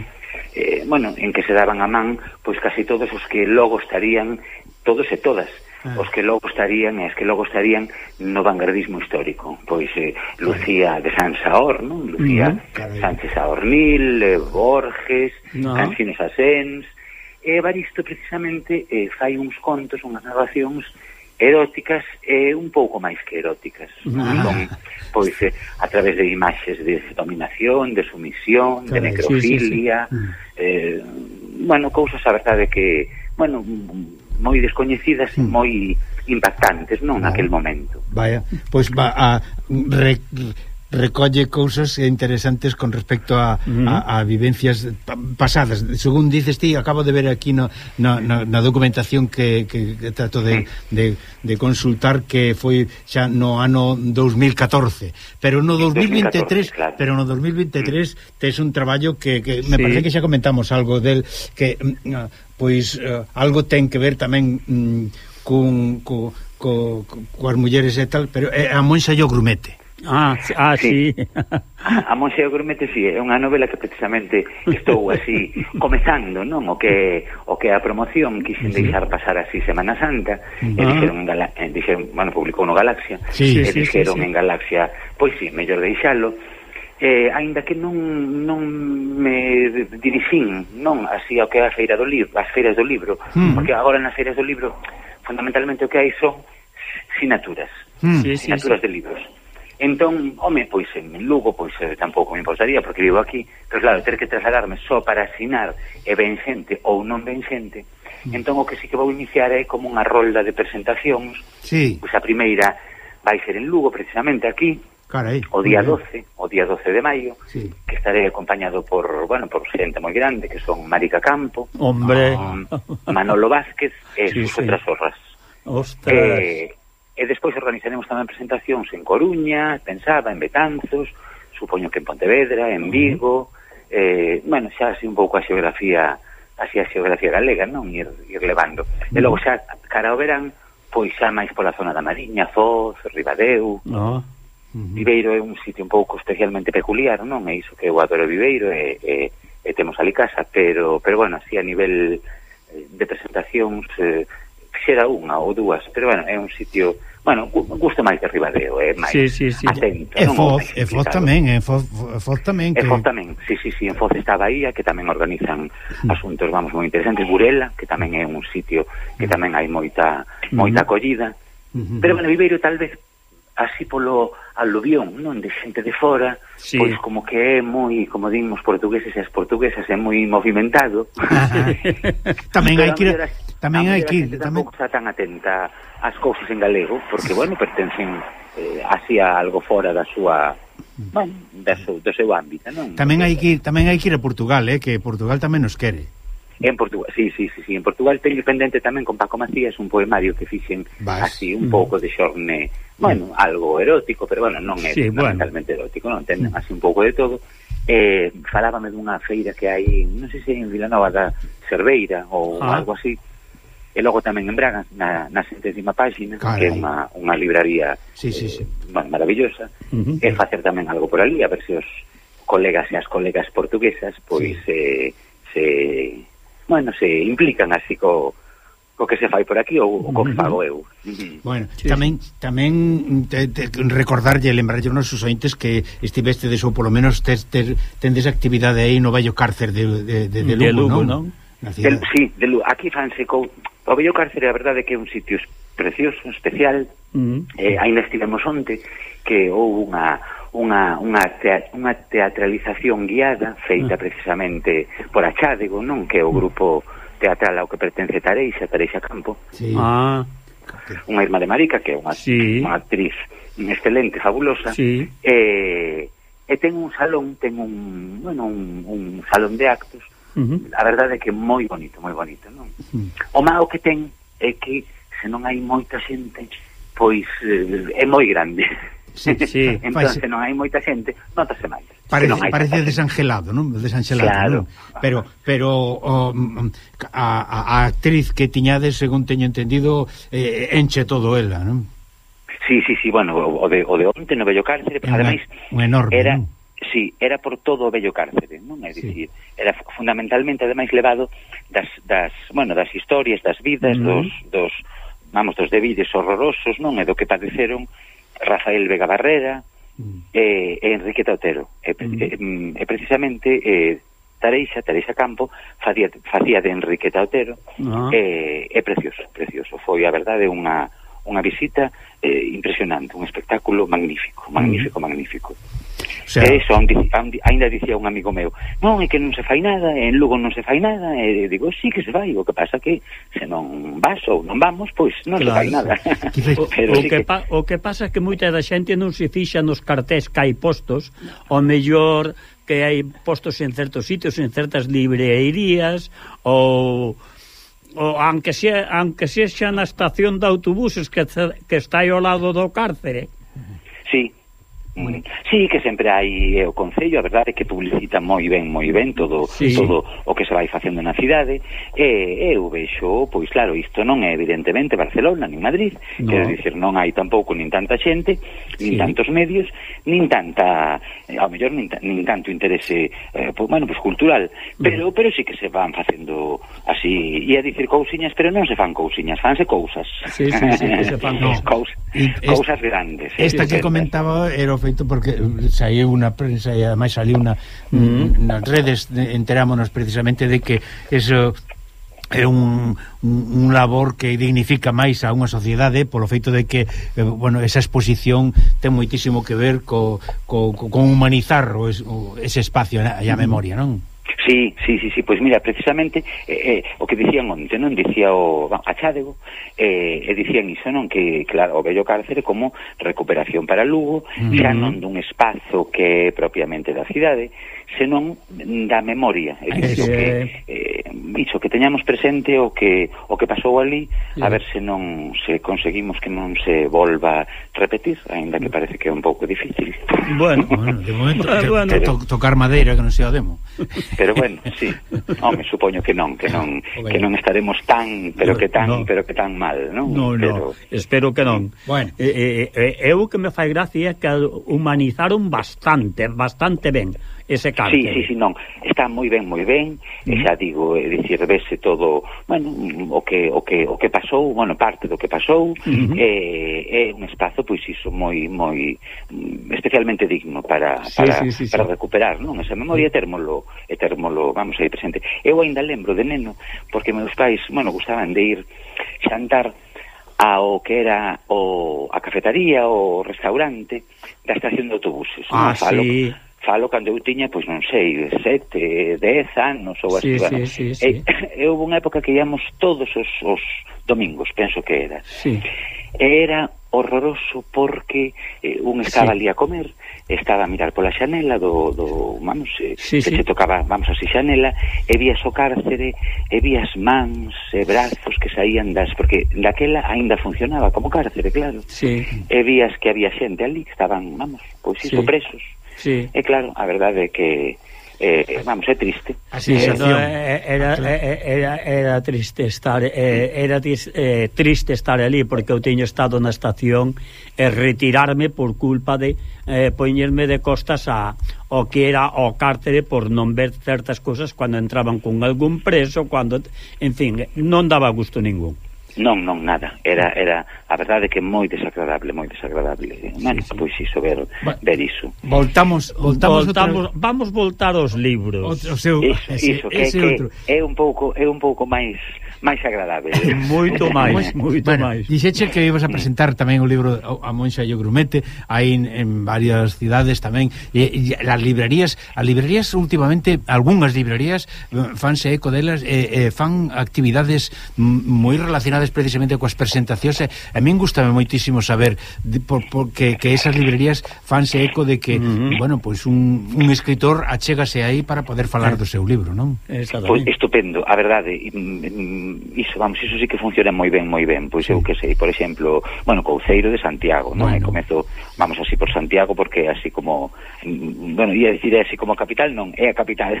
eh, bueno, en que se daban a man pois casi todos os que logo estarían, todos e todas, ah. os que logo estarían e as que logo estarían no vanguardismo histórico. Pois eh, Lucía de Sansaor, non? Lucía uh-huh. Sánchez Aornil, eh, Borges, no. Cansino Sassens, e Evaristo precisamente eh, fai uns contos, unhas narracións eróticas e un pouco máis que eróticas. Ah. Son, pois, eh, a través de imaxes de dominación, de sumisión, Caray, de necrofilia, sí, sí, sí. Eh, bueno, cousas, a verdade, que, bueno, moi descoñecidas e moi impactantes, non, naquel momento. Vaya, pois va a re, recolle cousas interesantes con respecto a, uh-huh. a, a vivencias pasadas. Según dices ti, acabo de ver aquí no, no, no, na documentación que, que, que trato de, de, de consultar, que foi xa no ano dos mil catorce, pero no dos mil veintitrés, claro. pero no dos mil veintitrés mm. tes un traballo que, que me sí. parece que xa comentamos algo del que uh, pois uh, algo ten que ver tamén um, con, con, con, con coas mulleres e tal, pero é a Monxa e o Grumete. Ah, ah, sí, sí. A Monxa e o Grumete, sí, é unha novela que precisamente estou así comezando, non? O que o que a promoción quixen sí. deixar pasar así Semana Santa, uh-huh. e dixeron, en Gala, eh, dixeron, bueno, publicou no Galaxia, sí, e sí, dixeron sí, sí. en Galaxia, pois sí, mellor deixalo, eh, aínda que non non me dirixín, non, así ao que é a feira do libro, as feiras do libro, uh-huh. porque agora nas feiras do libro fundamentalmente o que hai son sinaturas, uh-huh. sinaturas sí, sí. de libros. Entón, home, pois en Lugo, pois eh, tampouco me importaría, porque vivo aquí, pero claro, ter que trasladarme só para asinar e ben xente ou non ben xente, mm. entón o que sí que vou iniciar é como unha rolda de presentacións, sí. pois a primeira vai ser en Lugo, precisamente aquí, Carai, o día doce, o día doce de maio, sí. que estaré acompañado por, bueno, por xente moi grande, que son Marica Campo, hombre, Manolo Vázquez e sí, sus sí. outras zorras. Ostras. Eh, E despois organizaremos tamén presentacións en Coruña, pensaba, en Betanzos, supoño que en Pontevedra, en Vigo, eh, bueno, xa así un pouco a xeografía, así a xeografía galega, non? Ir, ir levando. E logo xa, cara ao verán, pois xa máis pola zona da Mariña, Foz, Ribadeo. No. Uh-huh. Viveiro é un sitio un pouco especialmente peculiar, non? É iso que eu adoro Viveiro e, e, e temos ali casa, pero, pero bueno, así a nivel de presentacións... Eh, xera unha ou dúas, pero bueno, é un sitio, bueno, gusto máis de Ribadeo, é máis sí, sí, sí. atento. E Foz, e Foz tamén, e Foz, Foz tamén. E Foz tamén, sí, sí, sí, en Foz está a Bahía, que tamén organizan asuntos, vamos, moi interesantes, Burela, que tamén é un sitio que tamén hai moita moita acollida, pero bueno, Viveiro tal vez así polo aluvión, non, de xente de fora, sí. pois como que é moi, como dimos portugueses e as portuguesas, é moi movimentado. Tamén hai que ir... Tamén hai que ir, tamén está tan atenta ás cousas en galego, porque bueno, pertencen eh, así a algo fora da súa, bueno, da seu, do seu ámbito, non? Tamén hai que ir, tamén hai que ir a Portugal, eh, que Portugal tamén nos quere. En Portugal, sí, sí, sí, sí, en Portugal teño pendente tamén con Paco Macías un poemario que fixen Vas. así un mm. pouco de xorne, bueno, mm. algo erótico, pero bueno, non é sí, fundamentalmente bueno. erótico, non, ten mm. así un pouco de todo. Eh, falábame dunha feira que hai, non sei se en Vilanova da Cerveira ou ah. algo así, e logo tamén en Braga, na, na centésima página, Carai. que é unha, unha libraría sí, sí, sí. Eh, maravillosa, uh-huh. e facer tamén algo por ali, a ver se os colegas e as colegas portuguesas, pois, sí. eh, se, bueno, se implican así co, co que se fai por aquí, ou co que fago eu. Uh-huh. Bueno, sí, tamén, sí. tamén te, te, recordarlle, lembrarlle aos nosos ointes que estivestedes, ou polo menos tes, tes, tendes actividade aí no vello cárcer de, de, de, de Lugo, de Lugo, non? non? Del, sí, de Lugo. Aquí fanse co, o vello cárcer, a verdade que é un sitio precioso, especial. Uh-huh. eh, ainda estivemos onte que houve unha unha unha, tea, unha teatralización guiada feita uh-huh. precisamente por Achádego, non? Que é o grupo teatral ao que pertence Tareixa, Tareixa Campo. Sí. Ah. Unha irmá de Marica, que é unha, sí. unha actriz excelente, fabulosa. Sí. Eh, e ten un salón, ten un, bueno, un, un salón de actos. Uh-huh. A verdade é que moi bonito, moi bonito, non? Uh-huh. O malo que ten é que se non hai moita xente, pois eh, é moi grande. Sí, sí. Entón, se non hai moita xente, notase máis. Parece, parece desangelado, non? Desangelado, claro. non? Pero, pero o, a, a actriz que tiñades, según teño entendido, eh, enche todo ela, non? Sí, sí, sí, bueno, o de, o de onte no vello cárcere, pues, ademais, un enorme, era... non? Sí, era por todo o vello cárcere, non? É dicir, sí. era fundamentalmente, ademais, levado das, das, bueno, das historias, das vidas, uh-huh. dos, dos, vamos, dos debides horrorosos, non? E do que padeceron Rafael Vega Barrera uh-huh. e, e Enriqueta Otero. E, uh-huh. e, e precisamente, eh, Tareixa, Tareixa Campo, facía, facía de Enriqueta Otero, uh-huh. e, é precioso, precioso. Foi, a verdade, unha, unha visita eh, impresionante, un espectáculo magnífico, magnífico, uh-huh. magnífico. O sea, e iso, ainda dicía un amigo meu, non, é que non se fai nada, en Lugo non se fai nada, e digo, sí que se fai, o que pasa que se non vas ou non vamos, pois non claro, se fai nada. o, Pero o, sí que, que... Pa, o que pasa é que moita da xente non se fixa nos cartés que hai postos, o mellor que hai postos en certos sitios, en certas librerías, ou... o aunque sea, aunque sexa na estación de autobuses que, que está aí ao lado do cárcere. Sí. Mm. Sí, que sempre hai eh, o Concello, a verdade é que publicita moi ben, moi ben todo, sí. todo o que se vai facendo na cidade, e eu vexo, pois claro, isto non é evidentemente Barcelona nin Madrid, no. Quero dicir, non hai tampouco nin tanta xente, nin sí. tantos medios, nin tanta, eh, ao mellor nin, nin tanto interese eh, pues, bueno, pues cultural, pero mm. pero sí que se van facendo así, e a dicir cousiñas, pero non se fan cousiñas, fanse cousas. Sí, sí, sí, que se fan no. Cous, cousas grandes. Esta sí, que comentaba era feito porque saiu unha prensa e ademais saliu unha mm. nas redes, enterámonos precisamente de que eso é un, un, un labor que dignifica máis a unha sociedade polo feito de que, eh, bueno, esa exposición ten moitísimo que ver co, co, co, con humanizar o, o, ese espacio e a memoria, non? Sí, sí, sí, sí, pois mira, precisamente eh, eh, o que dicían onte, non? Dicía o Achádego, eh, e dicían iso, non? Que, claro, o vello cárcere como recuperación para Lugo, uh-huh. xa non dun espazo que é propiamente da cidade, senón da memoria, é dicir, que eh, iso, que teñamos presente o que o que pasou ali, yeah. a ver se non se conseguimos que non se volva repetir, aínda que parece que é un pouco difícil. Bueno, bueno, de momento te, bueno. Te, to, tocar madeira que non sea o demo. Pero bueno, sí. Home, supoño que non, que non okay. que non estaremos tan, pero que tan, no. pero que tan mal, non? No, pero... no. Espero que non. Bueno, eh, eh, eu que me fai gracia que humanizaron bastante, bastante ben ese cárcere. Sí, sí, sí, non, está moi ben, moi ben, mm. e xa digo, é dicir, vese todo, bueno, o que o que o que pasou, bueno, parte do que pasou, mm-hmm. é, é un espazo pois iso moi moi especialmente digno para sí, para, sí, sí, para sí. recuperar, non? Esa memoria térmolo, e térmolo, vamos aí presente. Eu ainda lembro de neno, porque meus pais, bueno, gustaban de ir xantar ao que era o a cafetaría, o restaurante da estación de autobuses. Ah, non? Falo, sí. Falo cando eu tiña, pois non sei, sete, dez anos ou así. Sí, bueno. sí, sí, sí. E, e houve unha época que íamos todos os, os domingos, penso que era. Sí. Era horroroso porque eh, un estaba sí. ali a comer, estaba a mirar pola xanela do, do vamos, eh, sí, que sí. se tocaba, vamos así, xanela, e vías o cárcere, e vías mans e brazos que saían das, porque daquela aínda funcionaba como cárcere, claro. Sí. E vías que había xente ali que estaban, vamos, pois iso, sí. presos. Sí. E claro, a verdade é que eh, vamos, é triste. Así eh, no, era, era, era triste estar eh, era eh, triste estar ali porque eu teño estado na estación e retirarme por culpa de eh, poñerme de costas a o que era o cárcere por non ver certas cousas cando entraban con algún preso, cando, en fin, non daba gusto ningún. Non, non, nada. Era, era a verdade que moi desagradable, moi desagradable. Man, sí, sí. Pois iso, ver, Va, ver iso. Voltamos, voltamos, voltamos vamos voltar aos libros. O, o seu, iso, ese, iso, que, ese que outro. é un pouco, é un pouco máis máis agradable. Moito máis, moito bueno, máis. Dixeche que ibas a presentar tamén o libro A Monxa e o Grumete aí en, en varias cidades tamén. E, e as librerías, as librerías últimamente, algunhas librerías fanse eco delas e, e fan actividades moi relacionadas precisamente coas presentacións. E a min gustame moitísimo saber de, por, por, que, que esas librerías fanse eco de que, uh-huh. bueno, pois pues un, un escritor achégase aí para poder falar do seu libro, non? Pois estupendo, a verdade, iso, vamos, iso sí que funciona moi ben, moi ben. Pois sí. Eu que sei, por exemplo, bueno, Couceiro de Santiago, non? Bueno. Comezo, vamos así por Santiago porque así como, bueno, ia dicir así como capital, non, é a capital.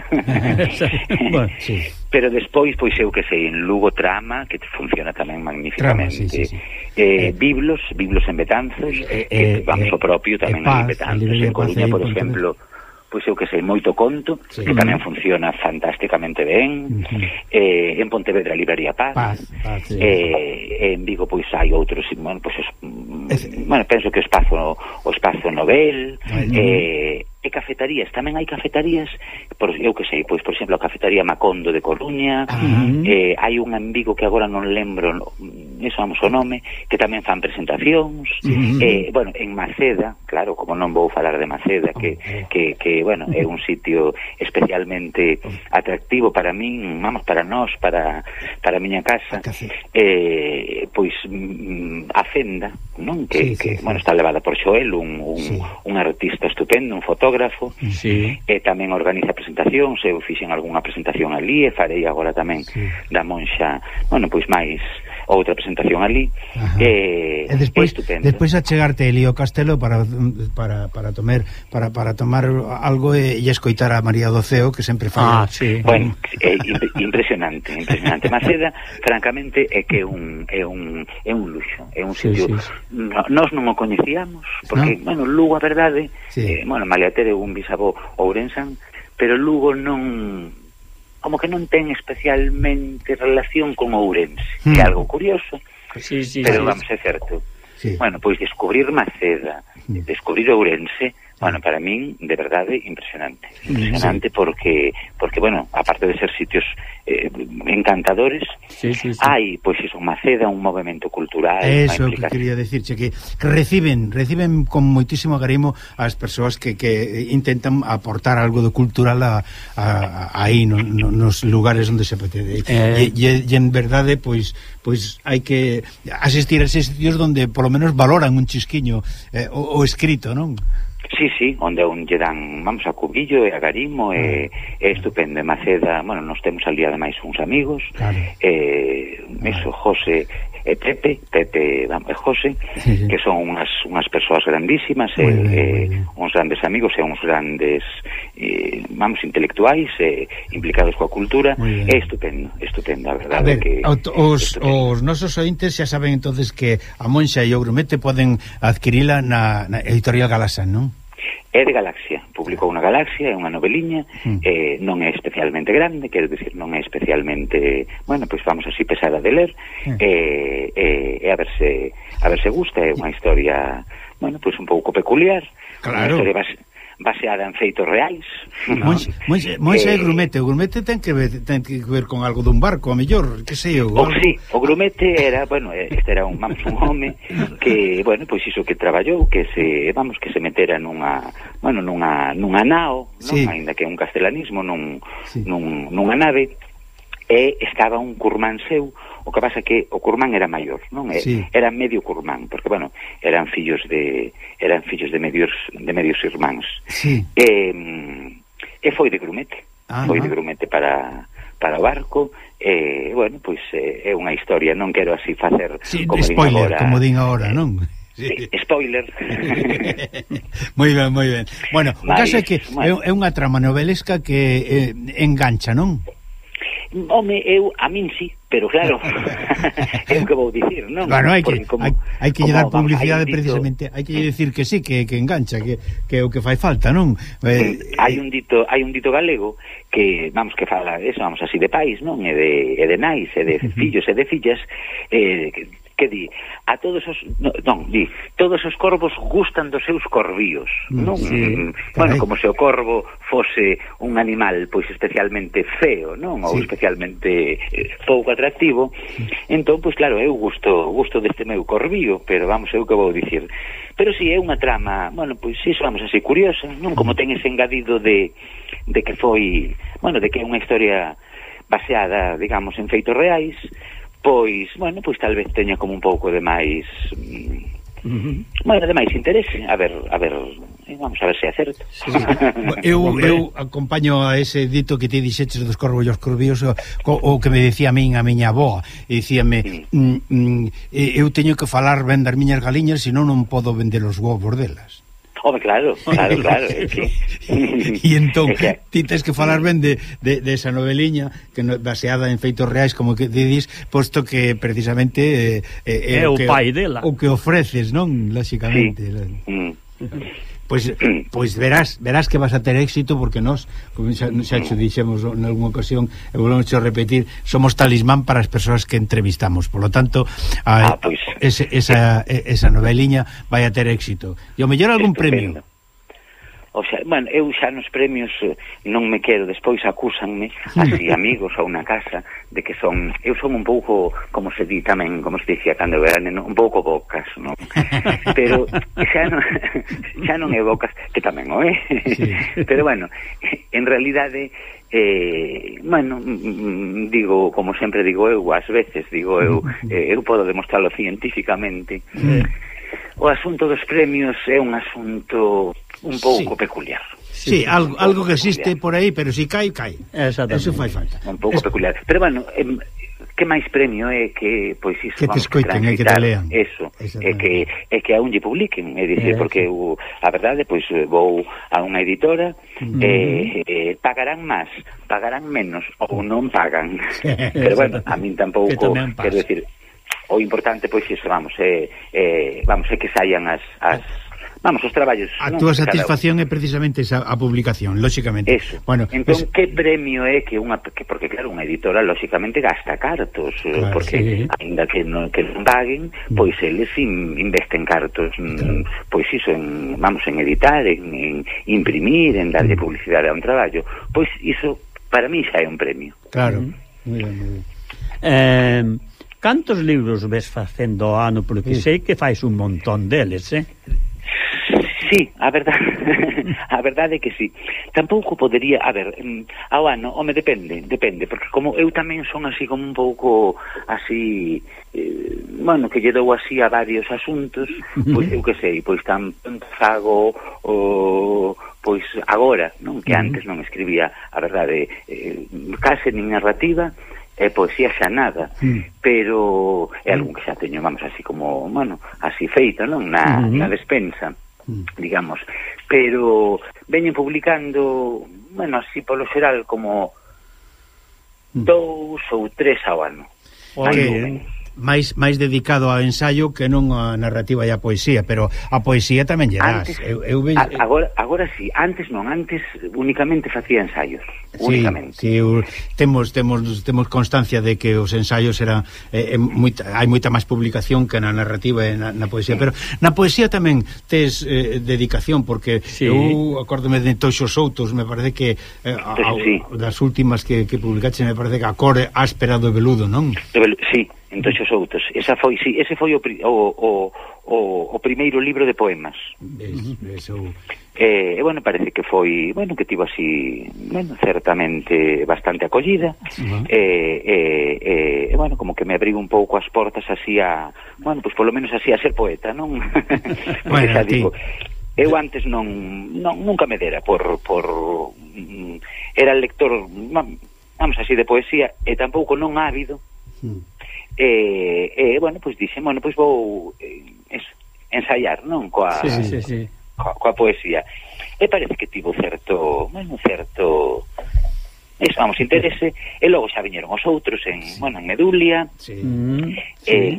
Bueno, sí. Pero despois, pois eu que sei, en Lugo Trama, que funciona tamén magníficamente. Trama, sí, sí, sí. Eh, eh, Biblos, Biblos en Betanzos, eh, que vamos eh, o propio tamén eh, en Betanzos, en Coruña, por exemplo, pois eu que sei, moito conto, sí. Que tamén funciona fantásticamente ben. Uh-huh. eh, en Pontevedra, Librería Paz, Paz, Paz sí. eh, en Vigo, pois hai outros, bueno, pois, os, bueno, penso que o espazo o espazo Nobel, uh-huh. eh, e cafetarías, tamén hai cafetarías, por, eu que sei, pois, por exemplo, a cafetaría Macondo de Coruña, uh-huh. eh, hai un en Vigo que agora non lembro, eso vamos o nome, que tamén fan presentacións, uh-huh. eh, bueno, en Maceda, claro, como non vou falar de Maceda, que, uh-huh. que, que bueno, é un sitio especialmente atractivo para min, vamos, para nós, para, para a miña casa, eh, pois, a Fenda, non? Que, sí, que sí, bueno, sí. Está levada por Xoel, un, un, sí. un artista estupendo, un fotógrafo, sí. E tamén organiza presentacións, eu fixen algunha presentación ali, e farei agora tamén sí. Da Monxa, bueno, pois máis outra presentación ali, e, e despois, despois achegarte ali ao castelo para para para tomar para para tomar algo e, e escoitar a María do Ceo, que sempre fala. Ah, sí. Bueno, é impresionante, impresionante. Maceda, francamente, é que é un é un é un luxo, é un sitio. Sí, sí, sí. Nós non o coñecíamos, porque, ¿no? Bueno, Lugo, a verdade, sí. eh, bueno, Malia tere un bisavó ourensan, pero Lugo non, como que non ten especialmente relación con Ourense, mm. que é algo curioso, sí, sí, pero sí, vamos, é certo. Sí. Bueno, pois descubrir Maceda, mm. descubrir Ourense, bueno, para min, de verdade, impresionante. Impresionante, sí. porque, porque, bueno, aparte de ser sitios eh, encantadores, sí, sí, sí. Hai, pois iso, Maceda, un movimento cultural. Eso que quería decirche, que, que reciben, reciben con moitísimo agarimo as persoas que, que intentan aportar algo de cultural a, a, a aí, no, no, nos lugares onde se pretende. Eh... E, e, e en verdade, pois, pois hai que asistir a esos sitios donde, por lo menos, valoran un chisquiño eh, o, o escrito, non? Sí, sí, onde un lle dan, vamos, a Cubillo e a Garimo, e é estupendo. Maceda, bueno, nos temos al día ademais uns amigos, claro. eh, eso, José e Pepe, Pepe vamos, e José, sí, sí. Que son unhas, unhas persoas grandísimas, e, bien, eh, uns grandes amigos e uns grandes, eh, vamos, intelectuais, e implicados coa cultura. É estupendo, estupendo, a verdade. A ver, que os, os nosos ointes xa saben entonces que A Monxa e o Grumete poden adquirila na, na editorial Galaxan, non? É de Galaxia, publicou unha Galaxia, é unha noveliña, mm. eh, non é especialmente grande, quero dicir, non é especialmente, bueno, pois vamos así, pesada de ler, mm. eh, eh, e a ver se a ver se gusta, é unha historia, bueno, pois un pouco peculiar, claro. Unha historia base, baseada en feitos reais. No? Monxa eh, e Grumete, o Grumete ten que ver, ten que ver con algo dun barco, a mellor, que sei eu. O, sí, o Grumete era, bueno, este era un, vamos, un home que, bueno, pois iso que traballou, que se, vamos, que se metera nunha, bueno, nunha, nunha nao, non? Sí. Ainda que un castelanismo, nun, sí. nun, nunha nave, e estaba un curmán seu. O que pasa que o curmán era maior, non? Sí. Era medio curmán, porque, bueno, eran fillos de eran fillos de medios de medios irmáns. Sí. E, e foi de Grumete. Ah, foi no? de Grumete para para o barco. E, bueno, pois é unha historia, non quero así facer sí, como spoiler, din agora, como din agora, non? Sí, spoiler. Moi ben, moi ben. Bueno, o caso é que bueno, é unha trama novelesca que eh, engancha, non? Home, eu, a min sí, pero claro, é o que vou dicir, non? Bueno, hai que, como, hai, hai que lle dar publicidade dito, precisamente, hai que decir que sí, que, que engancha, que, que é o que fai falta, non? Eh, hai un dito, hai un dito galego que, vamos, que fala eso, vamos, así de pais, non? E de, e de nais, e de fillos e de fillas, eh, que, que di, a todos os, no, non, di, todos os corvos gustan dos seus corvíos, non? Sí, bueno, como se o corvo fose un animal, pois, especialmente feo, non? Ou sí, especialmente eh, pouco atractivo, entón, pois, claro, eu gusto, gusto deste meu corvío, pero vamos, eu que vou dicir. Pero si, sí, é unha trama, bueno, pois, iso, vamos, así, curiosa, non? Como ten ese engadido de, de que foi, bueno, de que é unha historia baseada, digamos, en feitos reais, pois, bueno, pois tal vez teña como un pouco de máis uh-huh. bueno, de máis interese, a ver, a ver, vamos a ver se é certo. Sí, sí. eu, eu acompaño a ese dito que te dixeches dos corvos e os corvíos, o, o que me decía a min a miña avoa, e dicíame, mm. mm, eu teño que falar ben das miñas galiñas, senón non podo vender os ovos delas. Home, claro, claro, claro, é que... E entón, que... ti tens que falar ben de, de, de esa noveliña que no, baseada en feitos reais, como que didis, posto que precisamente eh, eh, é o que, pai dela. O que ofreces, non? Lóxicamente. Sí. Mm. Pois, pois verás, verás que vas a ter éxito, porque nós, como xa, xa xo dixemos en algunha ocasión, e volvemos a repetir, somos talismán para as persoas que entrevistamos, por lo tanto a, ah, pues, ese, esa, esa noveliña vai a ter éxito. E ao mellor algún estupendo. premio. O sea, bueno, eu xa nos premios non me quero, despois acúsanme así amigos ou na casa de que son, eu son un pouco, como se di tamén, como se dicía cando eu era neno, un pouco bocas, non? Pero xa non, xa non é bocas, que tamén o é. Sí. Pero bueno, en realidade eh, bueno, digo, como sempre digo eu, ás veces digo eu, eh, eu podo demostrarlo científicamente. Sí. O asunto dos premios é un asunto un pouco sí, peculiar. Sí, sí, algo, algo que existe por aí, pero si cae, cae. Eso fai falta. Un pouco es... peculiar. Pero bueno, eh, que máis premio é que, pois iso, que te escoiten, é que te lean. Eso, é que, é que aún lle publiquen, é dicir, porque eu, a verdade, pois vou a unha editora, uh-huh. eh, eh, pagarán máis, pagarán menos, ou non pagan. Pero bueno, a min tampouco, quero decir, o importante, pois iso, vamos, é, eh, vamos, é que saian as... as vamos, os traballos. A ¿no? túa satisfacción é precisamente esa a publicación, lóxicamente. Eso. Bueno, entón, pues... que premio é que unha que porque claro, unha editora lóxicamente gasta cartos, claro, porque sí, aínda que non que non paguen, pois eles in, investen cartos, claro, pois iso en, vamos, en editar, en, en imprimir, en darlle publicidade a un traballo. Pois iso para mí xa é un premio. Claro. Mm-hmm. Muy bien, muy bien. Eh, cantos libros ves facendo ao ano? Porque sí, sei que fais un montón deles, eh? Sí, a verdade, a verdade é que sí. Tampouco podería, a ver, ao ano, home, depende, depende, porque como eu tamén son así como un pouco así, eh, bueno, que lle dou así a varios asuntos, pois eu que sei, pois tan fago o pois agora, non, que antes non escribía, a verdade, eh, case nin narrativa, e poesía xa nada, mm. pero é algún que xa teño, vamos, así como, bueno, así feito, non, na, mm-hmm. na despensa, mm. digamos, pero veñen publicando, bueno, así polo xeral como mm. dous ou tres ao ano. Oye, máis máis dedicado ao ensaio que non a narrativa e a poesía, pero a poesía tamén lle das. Eu, eu ve... a, agora, agora sí, antes non, antes únicamente facía ensaios, sí, únicamente. Sí, temos temos temos constancia de que os ensaios eran eh, moita, hai moita máis publicación que na narrativa e na, na poesía, sí, pero na poesía tamén tes eh, dedicación, porque sí, eu acórdome de Toxo Soutos, me parece que eh, a, sí, das últimas que, que publicaste, me parece que a cor áspera do veludo, non? Sí, entonces outros. Esa foi, sí, ese foi o, o, o, o, o primeiro libro de poemas. Es, eso. Eh, e bueno, parece que foi, bueno, que tivo así, bueno, certamente bastante acollida. Uh-huh. eh, eh, eh, bueno, como que me abriu un pouco as portas así a, bueno, pues polo menos así a ser poeta, non? Bueno, xa digo, eu antes non, non nunca me dera por por mm, era lector, vamos así, de poesía, e tampouco non ávido. Uh-huh. E, eh, eh, bueno, pois pues, dixen, bueno, pois pues vou eh, es, ensaiar, non? Coa, sí, sí, sí, sí. Coa, coa poesía. E parece que tivo certo, bueno, certo eso, vamos, interese, e logo xa viñeron os outros en, sí. bueno, en Medulia, sí. en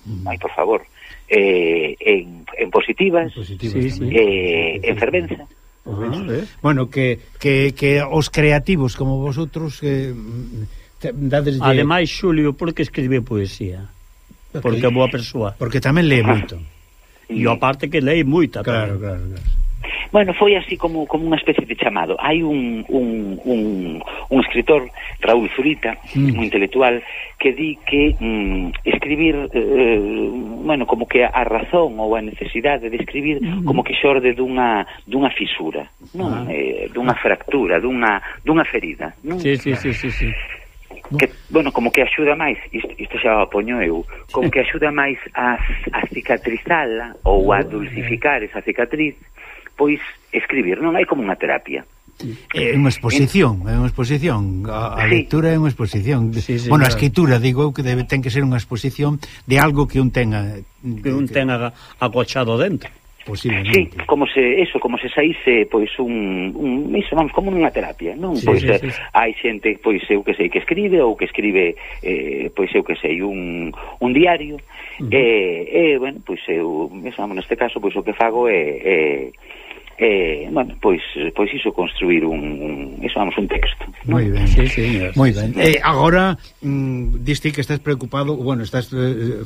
mm. ai, por favor, eh, en, en Positivas, en, positivas sí, sí. Eh, en Fervenza. Uh-huh. Bueno, que, que, que os creativos como vosotros eh, dades de... Ademais, Xulio, por que escribe poesía? Porque é boa persoa. Porque tamén lee moito. E aparte que lee moita. Claro, claro, claro. Bueno, foi así como como unha especie de chamado. Hai un un, un, un escritor, Raúl Zurita, mm. un intelectual, que di que mm, escribir, eh, bueno, como que a razón ou a necesidade de escribir mm. como que xorde dunha dunha fisura, non? Ah. Eh, dunha fractura, dunha dunha ferida, non? Sí, sí, sí, sí, sí. Que, bueno, como que axuda máis, isto, isto xa o poño eu, como que axuda máis a, a cicatrizala ou a dulcificar esa cicatriz, pois escribir, non hai como unha terapia. É unha exposición, é unha exposición, a, a sí. lectura é unha exposición. Sí, sí, bueno, a escritura, digo eu, que debe, ten que ser unha exposición de algo que un tenga... Que un tenga acochado dentro. Sí, como se, eso, como se saíse, pois, un, un iso, vamos, como unha terapia, non? Sí, pois, sí, sí, sí. Hai xente, pois, eu que sei, que escribe, ou que escribe, eh, pois, eu que sei, un, un diario, uh-huh. e, e, bueno, pois, eu, eso, vamos, neste caso, pois, o que fago é... é Eh, bueno, pois pois iso, construir un, un eso, vamos, un texto, ¿no? Moi ben, sí, sí, moi ben. Eh, agora mm, diste que estás preocupado, bueno, estás eh,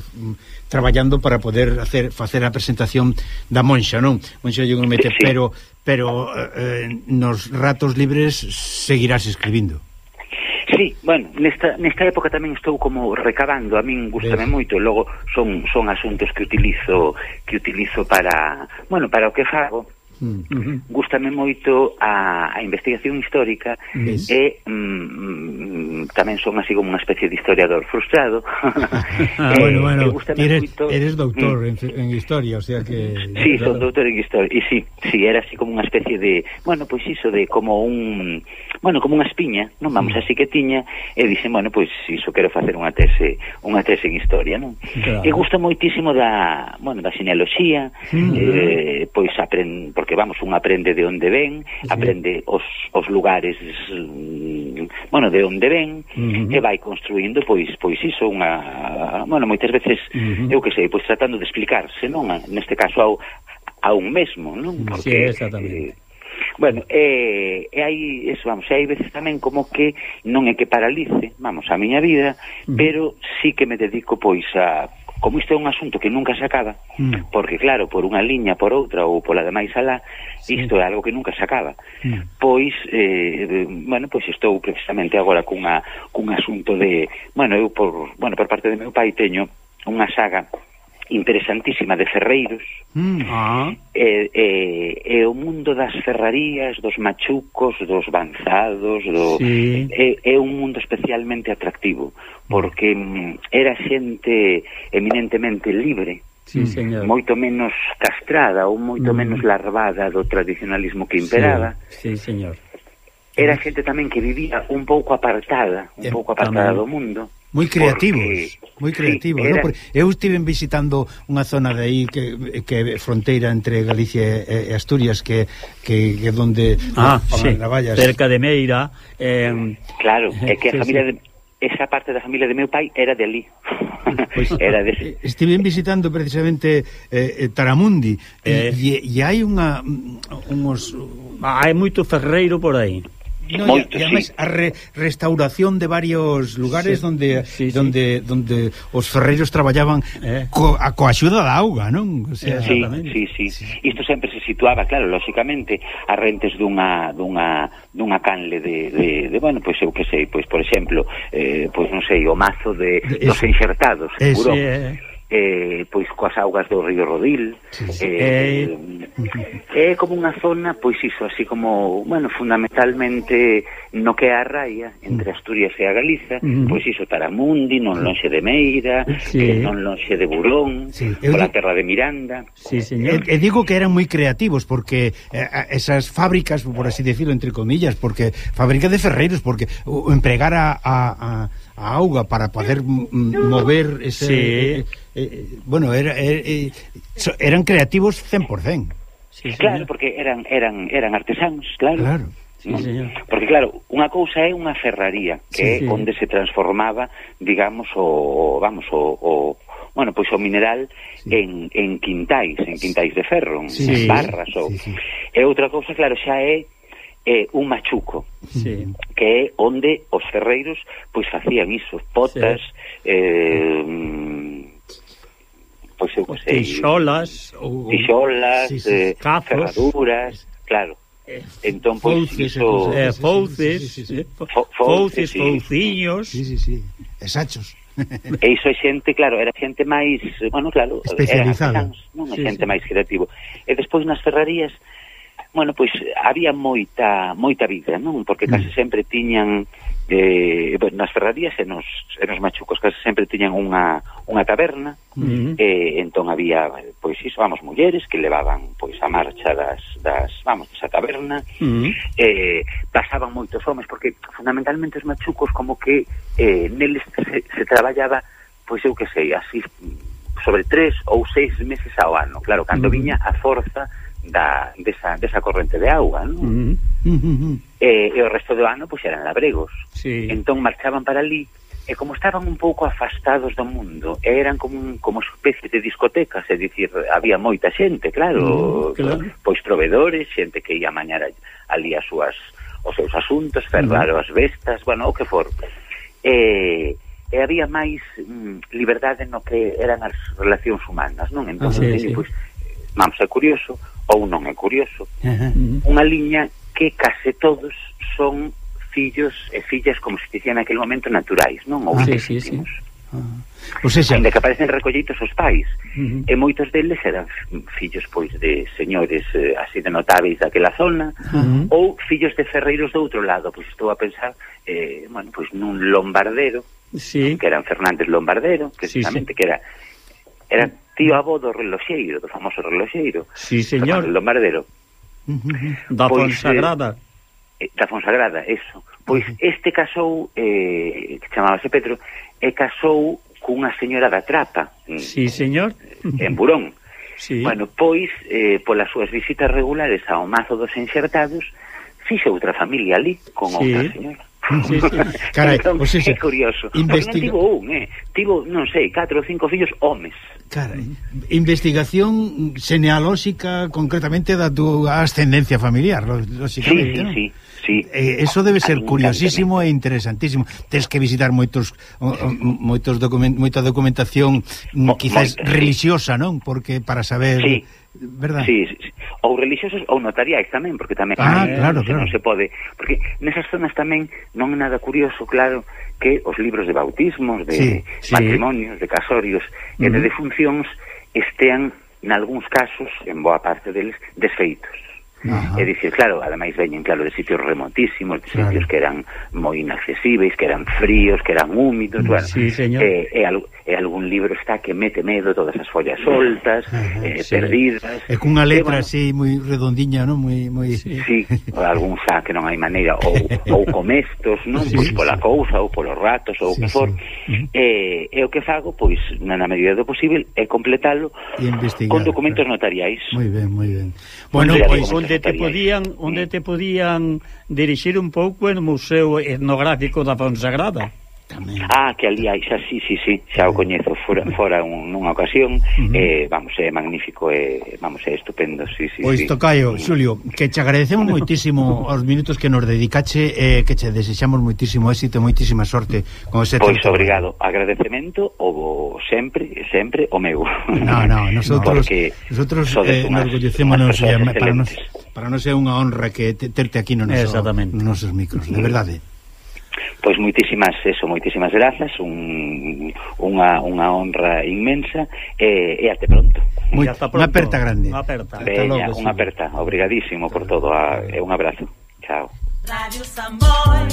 traballando para poder hacer facer a presentación da Monxa, non? Monxa yo non mete, sí. pero pero eh, nos ratos libres seguirás escribindo. Sí, bueno, nesta, nesta época tamén estou como recabando, a min gustame moito, e logo son son asuntos que utilizo que utilizo para, bueno, para o que fago. Uh-huh. Gústame moito a, a investigación histórica yes. e mm, tamén son así como unha especie de historiador frustrado. ah, eh, bueno, bueno, eres, moito... eres doutor mm. en, en historia, o sea que... Sí, son doutor en historia, e sí, sí, era así como unha especie de, bueno, pois pues iso de como un, bueno, como unha espiña, non, vamos, así que tiña, e dixen, bueno, pois pues iso, quero facer unha tese, unha tese en historia, non? Claro. E gusta moitísimo da, bueno, da genealoxía, mm. eh, pois aprend, porque vamos, un aprende de onde ven, sí. aprende os, os lugares, bueno, de onde ven, uh-huh. e vai construindo, pois, pois iso, unha, bueno, moitas veces, uh-huh. eu que sei, pois tratando de explicarse, non? Neste caso ao, a un mesmo, non? Porque, sí, exactamente. Eh, bueno, e, e hai, eso, vamos, e hai veces tamén como que non é que paralice, vamos, a miña vida, uh-huh. pero sí que me dedico, pois, a... Como isto é un asunto que nunca se acaba, mm. porque claro, por unha liña, por outra ou pola demais alá, sí. isto é algo que nunca se acaba. Mm. Pois, eh, bueno, pois estou precisamente agora cunha, cun asunto de, bueno, eu por, bueno, por parte de meu pai teño unha saga interesantísima de ferreiros, mm. ah. e, e, e o mundo das ferrarías, dos machucos, dos banzados, do, sí. é, é un mundo especialmente atractivo, porque mm, era xente eminentemente libre, sí, señor. Moito menos castrada ou moito mm. menos larvada do tradicionalismo que imperaba. Sí, sí, señor. Era xente tamén que vivía un pouco apartada, un eh, pouco apartada tamén. do mundo. Moi creativos, moi creativos, sí, era... ¿no? Eu estive visitando unha zona de aí que, que fronteira entre Galicia e Asturias, que que, que donde ah, sí, cerca de Meira, eh, claro, é que a sí, familia sí. de esa parte da familia de meu pai era de ali. Pues, era de... Estive visitando precisamente eh, Taramundi eh. e, e hai unha uns hai moito ferreiro por aí. No, Moito, e, e además sí. a re, restauración de varios lugares sí, donde sí, donde sí. donde os ferreiros traballaban eh. co, a, coa axuda da auga, non? O sea, sí, sí, sí, sí. Isto sempre se situaba, claro, lógicamente, a rentes dunha dunha dunha canle de, de, de bueno, pois pues, eu que sei, pois pues, por exemplo, eh, pois pues, non sei, o mazo de, de dos enxertados, seguro. Eh. Eh, pois coas augas do río Rodil, sí, sí. Eh, eh, é como unha zona, pois iso, así como, bueno, fundamentalmente no que é a raia entre Asturias e a Galiza, uh-huh. pois iso, Taramundi, non lonxe de Meira, sí. eh, non lonxe de Burón, sí. pola terra de Miranda. Sí, señor. E, e digo que eran moi creativos porque eh, esas fábricas, por así decirlo, entre comillas, porque fábrica de ferreiros, porque o, empregar a, a, a a auga para poder m- mover ese... Sí. eh, bueno, era, eh, eh, eran creativos cen por cen. Sí, claro, porque eran eran eran artesanos, claro. Claro. Sí, señor. Porque claro, unha cousa é unha ferraría, que sí, é sí. onde se transformaba, digamos, o vamos, o, o bueno, pois o mineral sí. en, en quintais, en quintais de ferro, sí. en barras ou. Sí, sí. E outra cousa, claro, xa é eh, un machuco, sí. que é onde os ferreiros pois facían iso, potas, sí. eh, pois eu sei, tixolas, tixolas, sí, sí. eh, ferraduras, claro. Entón, pois, fouces, iso... eh, fouces, sí, sí, sí. fouces, fouciños, sí, sí, sí, exactos. E iso é xente, claro, era xente máis, bueno, claro, especializada, eran non, sí, xente sí. máis creativo. E despois nas ferrarías, bueno, pois había moita moita vida, non? Porque case mm. sempre tiñan eh, nas ferrarías e nos, e nos machucos case sempre tiñan unha unha taberna, mm. e entón había, pois iso, vamos, mulleres que levaban pois a marcha das, das vamos, desa taberna, mm. eh, pasaban moitos homes, porque fundamentalmente os machucos como que eh, neles se, se traballaba, pois eu que sei, así sobre tres ou seis meses ao ano, claro, cando mm. viña a forza da, desa, desa corrente de auga, non? Mm. Mm-hmm. E, e o resto do ano pois eran labregos, sí. Entón marchaban para ali e como estaban un pouco afastados do mundo, eran como un, como especie de discotecas, é dicir, había moita xente, claro, mm, claro. Pois provedores, xente que ia mañar ali as súas os seus asuntos, ferrar mm. as vestas, bueno, o que for. E, e había máis mm, liberdade no que eran as relacións humanas, non? Entón, ah, sí, sí. Pois, vamos, é curioso ou non é curioso, uh-huh. unha liña que case todos son fillos e fillas, como se dicía naquele momento, naturais, non? Ou ah, sí, sí, sí. Uh-huh. Pues ese... Ainda que aparecen recollitos os pais, uh-huh. e moitos deles eran fillos, pois, de señores eh, así de notáveis daquela zona, uh-huh. ou fillos de ferreiros do outro lado, pois estou a pensar, eh, bueno, pois nun lombardero, sí. que eran Fernández Lombardero, que sí, sí. que era era tío avó do reloxeiro, do famoso reloxeiro. Sí, señor. Fernández Lombardero. Uh-huh. Da pois, Fonsagrada. Eh, da Fonsagrada, eso. Pois uh-huh. este casou, eh, que chamábase Pedro, e casou cunha señora da Trapa. Sí, señor. En Burón. Sí. Bueno, pois, eh, polas súas visitas regulares ao Mazo dos Enxertados, fixe outra familia ali, con sí. outra señora. Sí, sí. Carai, entón, pues é curioso. Investiga... Non tivo un, eh? Tivo, non sei, catro ou cinco fillos homes. Carai, investigación genealóxica concretamente da túa ascendencia familiar, lógicamente, sí, ¿no? Sí, sí, eh, eso debe ser curiosísimo e interesantísimo. Tens que visitar moitos o, o, moitos document, moita documentación Mo, quizás moita, religiosa, sí. non? Porque para saber, sí. verdad? Sí, sí, ou religiosos ou notariais tamén, porque tamén ah, eh, claro, claro. non se pode, porque nesas zonas tamén non é nada curioso, claro, que os libros de bautismos, de sí, sí. matrimonios, de casorios uh-huh. e de defuncións estean, nalgúns casos, en boa parte deles, desfeitos. Ajá. É dicir, claro, ademais veñen, claro, de sitios remotísimos, de sitios claro. que eran moi inaccesíveis, que eran fríos, que eran húmidos, bueno, sí, señor. E, e, al, e algún libro está que mete medo, todas as follas soltas, ajá, eh, sí. perdidas. E cunha letra e, bueno, así moi redondiña, non? Moi moi sí, sí, algún xa que non hai maneira, ou ou comestos, non? Sí, pois sí, pola sí. cousa ou polos ratos ou o sí, que for. Sí. E, e o que fago, pois, na medida do posible, é completalo con documentos claro. notariais. Moi ben, moi ben. Bueno, pois onde te podían, onde te podían dirixir un pouco en Museo Etnográfico da Fonsagrada. Tamén. Ah, que ali hai, xa, sí, sí, sí, xa o coñezo fora, fora un, nunha ocasión, uh-huh. eh, vamos, é magnífico, eh, vamos, é estupendo, sí, sí. Pois, sí. Tocayo, Xulio, que che agradecemos moitísimo os minutos que nos dedicache, eh, que che desexamos moitísimo éxito, moitísima sorte con ese Pois tempo. Obrigado, agradecemento o sempre, sempre o meu. No, no, nosotros, nosotros eh, nos orgullecémonos, eh, para nos para nos é unha honra que te, terte aquí no noso, nos nosos micros, de verdade. Pois moitísimas, eso, moitísimas grazas, un, unha, unha honra inmensa e, e até pronto. Muy, unha aperta grande. Unha aperta. Veña, unha aperta. Obrigadísimo por todo a, e un abrazo. Chao. Radio Samboy.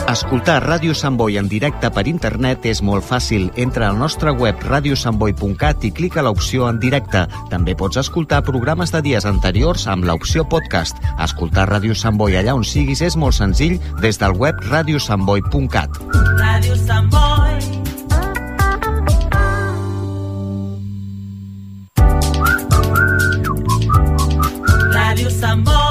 A Escoltar Ràdio Sant Boi en directe per internet és molt fàcil. Entra al nostre web radio sant boi punt cat i clica l'opció en directe. També pots escoltar programes de dies anteriors amb l'opció podcast. Escoltar Ràdio Sant Boi allà on siguis és molt senzill des del web radio sant boi punt cat. Ràdio Sant Boi. Ràdio Sant Boi.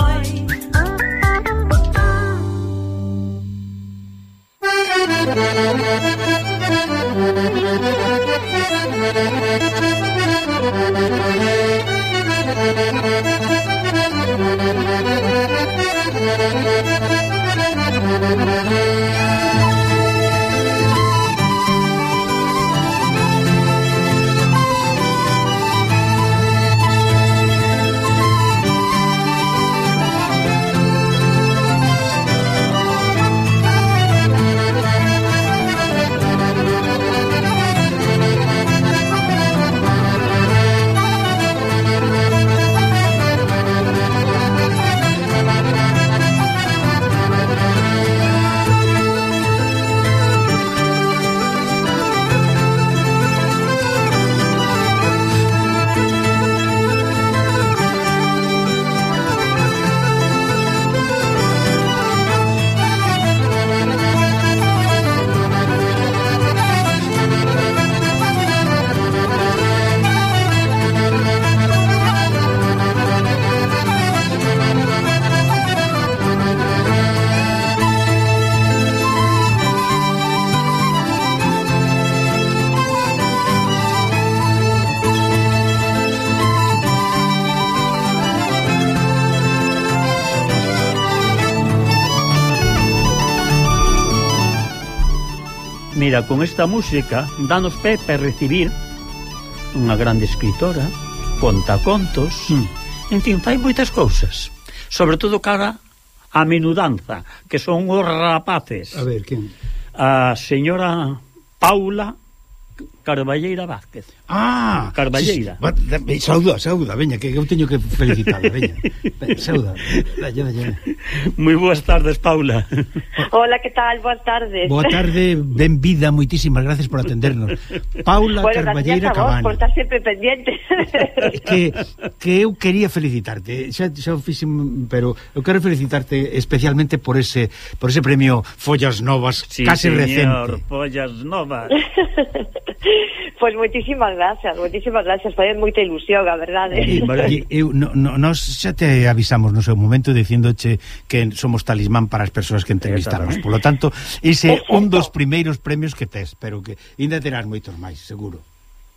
Mira, con esta música danos pé para recibir unha grande escritora, conta contos, mm. en fin, fai moitas cousas, sobre todo cara a menudanza, que son os rapaces. A ver, quen? A señora Paula Carballeira Vázquez. Ah, Carballeira. Sí, sauda, sauda, veña, que eu teño que felicitarla, veña. Sauda. Vaya, vaya. Moi boas tardes, Paula. Hola, que tal? Boas tardes. Boa tarde, ben vida, moitísimas gracias por atendernos. Paula bueno, Carballeira Cabana. Por estar sempre pendiente. que, que eu quería felicitarte, xa, xa fixen, pero eu quero felicitarte especialmente por ese por ese premio Follas Novas, sí, case señor, recente. Follas Novas. Pois pues moitísimas gracias, moitísimas gracias, fai moita ilusión, a verdade. E, e, eu, no, no, nos xa te avisamos no seu momento dicíndoche que somos talismán para as persoas que entrevistamos. Por lo tanto, ese é un dos primeiros premios que tes, pero que ainda terás moitos máis, seguro.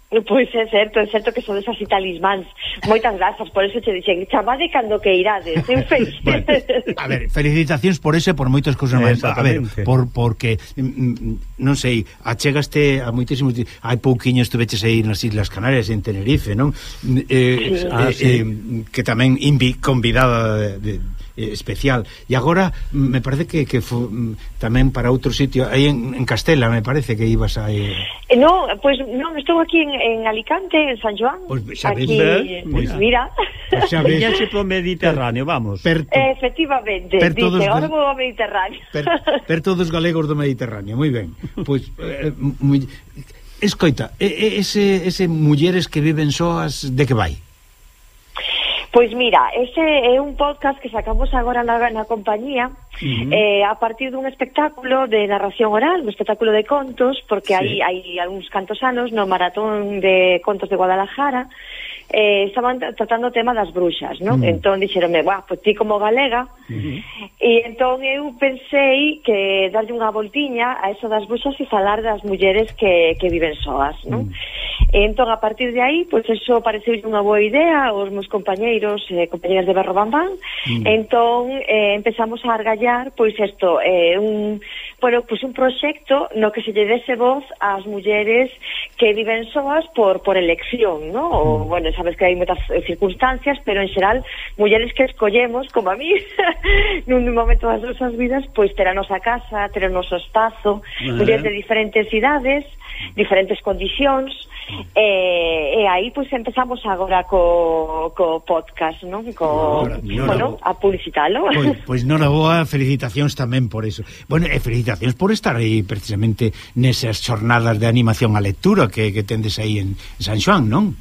Pois é certo, é certo que son desas talismáns. Moitas grazas, por eso te dixen, chamade cando que irades, en feliz. Bueno, a ver, felicitacións por eso e por moitas cousas máis. A ver, por, porque mm, non sei, achegaste a moitísimos, hai pouquiño estuveches aí nas Islas Canarias, en Tenerife, non? Eh, sí. ah, eh, sí. eh, que tamén invi, convidada de, de especial, e agora me parece que, que fo, tamén para outro sitio aí en, en Castela, me parece que ibas a eh... no, pois pues, non, estou aquí en, en Alicante, en San Joan, pues, xa ves, aquí, pues, mira, pues, xa ves. Viñaxe pro Mediterráneo, vamos. Per, efectivamente, per dice, dice, ahora vou ao Mediterráneo. Per, per todos galegos do Mediterráneo, moi ben. Pois pues, eh, muy, escoita, ese ese mulleres que viven soas, de que vai? Pois mira, ese é un podcast que sacamos agora na, na compañía, uh-huh. eh, a partir dun espectáculo de narración oral, un espectáculo de contos, porque sí. hai, hai algúns cantos anos no Maratón de Contos de Guadalajara, eh, estaban tratando o tema das bruxas, non? Uh-huh. Entón dixeronme, "Buah, pues ti como galega", uh-huh. e entón eu pensei que darlle unha voltiña a eso das bruxas e falar das mulleres que, que viven soas, non? Uh-huh. E entón, a partir de aí, pois pues, eso pareceu unha boa idea aos meus compañeiros, eh, compañeras de Berro Bambán, uh-huh. entón eh, empezamos a argallar, pois isto, eh, un, bueno, pois un proxecto no que se lle dese voz ás mulleres que viven soas por, por elección, non? Uh-huh. O, bueno, sabes que hai moitas circunstancias, pero en xeral mulleres que escollemos, como a mí, nun momento das nosas vidas, pois ter a nosa casa, ter o noso espazo, uh-huh. mulleres de diferentes idades, diferentes condicións, e, e aí pois empezamos agora co, co podcast, non? Co, no, no, bueno, no, a publicitalo. Pois, pois non a boa, felicitacións tamén por eso. Bueno, e felicitacións felicitacións por estar aí precisamente nesas xornadas de animación á lectura que, que tendes aí en San Xoán, non?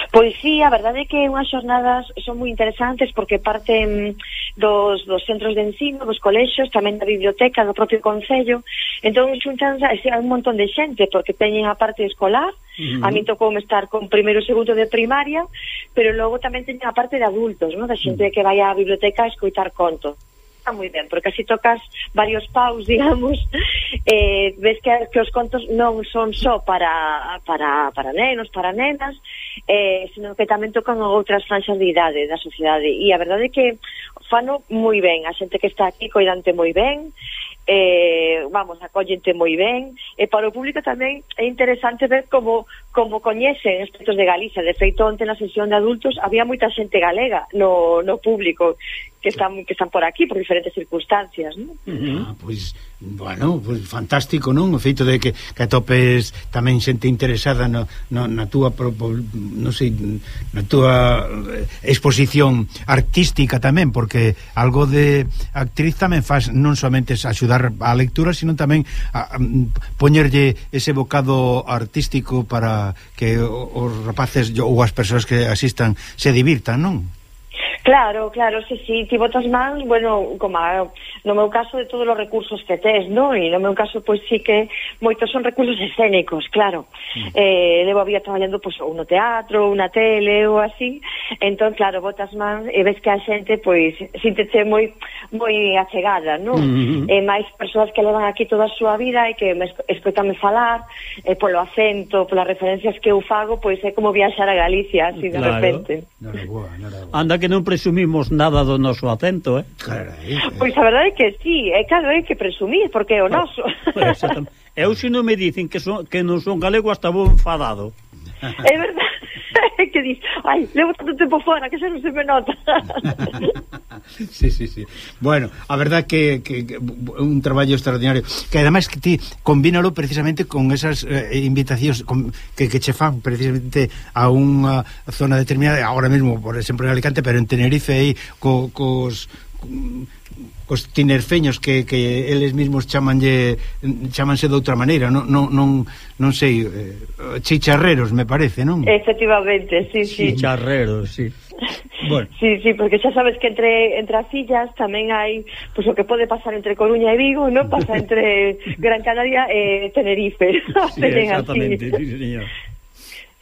Pois sí, a verdade é que unhas xornadas son moi interesantes porque parten dos, dos centros de ensino, dos colexios, tamén da biblioteca do propio concello. Entón xuntan un montón de xente porque teñen a parte escolar. Uh-huh. A mí tocou estar con primeiro e segundo de primaria, pero logo tamén teñen a parte de adultos, ¿no? Da xente que vai á biblioteca a escoitar contos. Está moi ben, porque así tocas varios paus, digamos, eh, ves que, que os contos non son só para, para, para nenos, para nenas, eh, sino que tamén tocan outras franxas de idade da sociedade, e a verdade é que fano moi ben, a xente que está aquí coidante moi ben, eh, vamos, acollente moi ben, e para o público tamén é interesante ver como, como coñecen aspectos de Galicia. De feito, onte na sesión de adultos había moita xente galega no, no público que están que están por aquí por diferentes circunstancias, non? Uh-huh. Ah, pois, bueno, pois fantástico, non? O feito de que, que atopes tamén xente interesada no, no, na túa non sei, na túa exposición artística tamén, porque algo de actriz tamén faz non somente axudar á lectura, sino tamén a, a, poñerlle ese bocado artístico para que os rapaces ou as persoas que asistan se divirtan, non? Claro, claro, sí, sí, ti botas mans, bueno, como a, no meu caso de todos os recursos que tes, non? E no meu caso, pois sí que moitos son recursos escénicos, claro. Mm. Eh, levo a vida traballando, pois, ou no teatro, ou na tele, ou así. Entón, claro, botas mans e ves que a xente, pois, síntese moi moi achegada, non? Mm-hmm. E máis persoas que levan aquí toda a súa vida e que me escoitame falar, e polo acento, polas referencias que eu fago, pois é como viaxar a Galicia, así de claro. repente. No, no, no, no, no. Anda que non presumimos nada do noso acento, eh? Carai, eh. Pois a verdade é que sí, é claro, é que presumir, porque é o noso. Pues, eu se non me dicen que, son, que non son galego hasta vou enfadado. É verdade. Que dis, ai, levo tanto tempo fora que xa non se me nota. Sí, sí, sí. Bueno, a verdad que, que, que un traballo extraordinario, que ademais que ti combínalo precisamente con esas eh, invitacións con, que, que che fan precisamente a unha zona determinada, agora mesmo, por exemplo, en Alicante, pero en Tenerife aí co, cos cos tinerfeños que, que eles mesmos chamanlle chamanse de outra maneira, non, non, non, non sei, eh, chicharreros, me parece, non? Efectivamente, sí, sí. Chicharreros, sí. Bueno. Sí, sí, porque xa sabes que entre entre as illas tamén hai, pois, pues, o que pode pasar entre Coruña e Vigo, non pasa entre Gran Canaria e Tenerife. Sí, exactamente, sí, señor.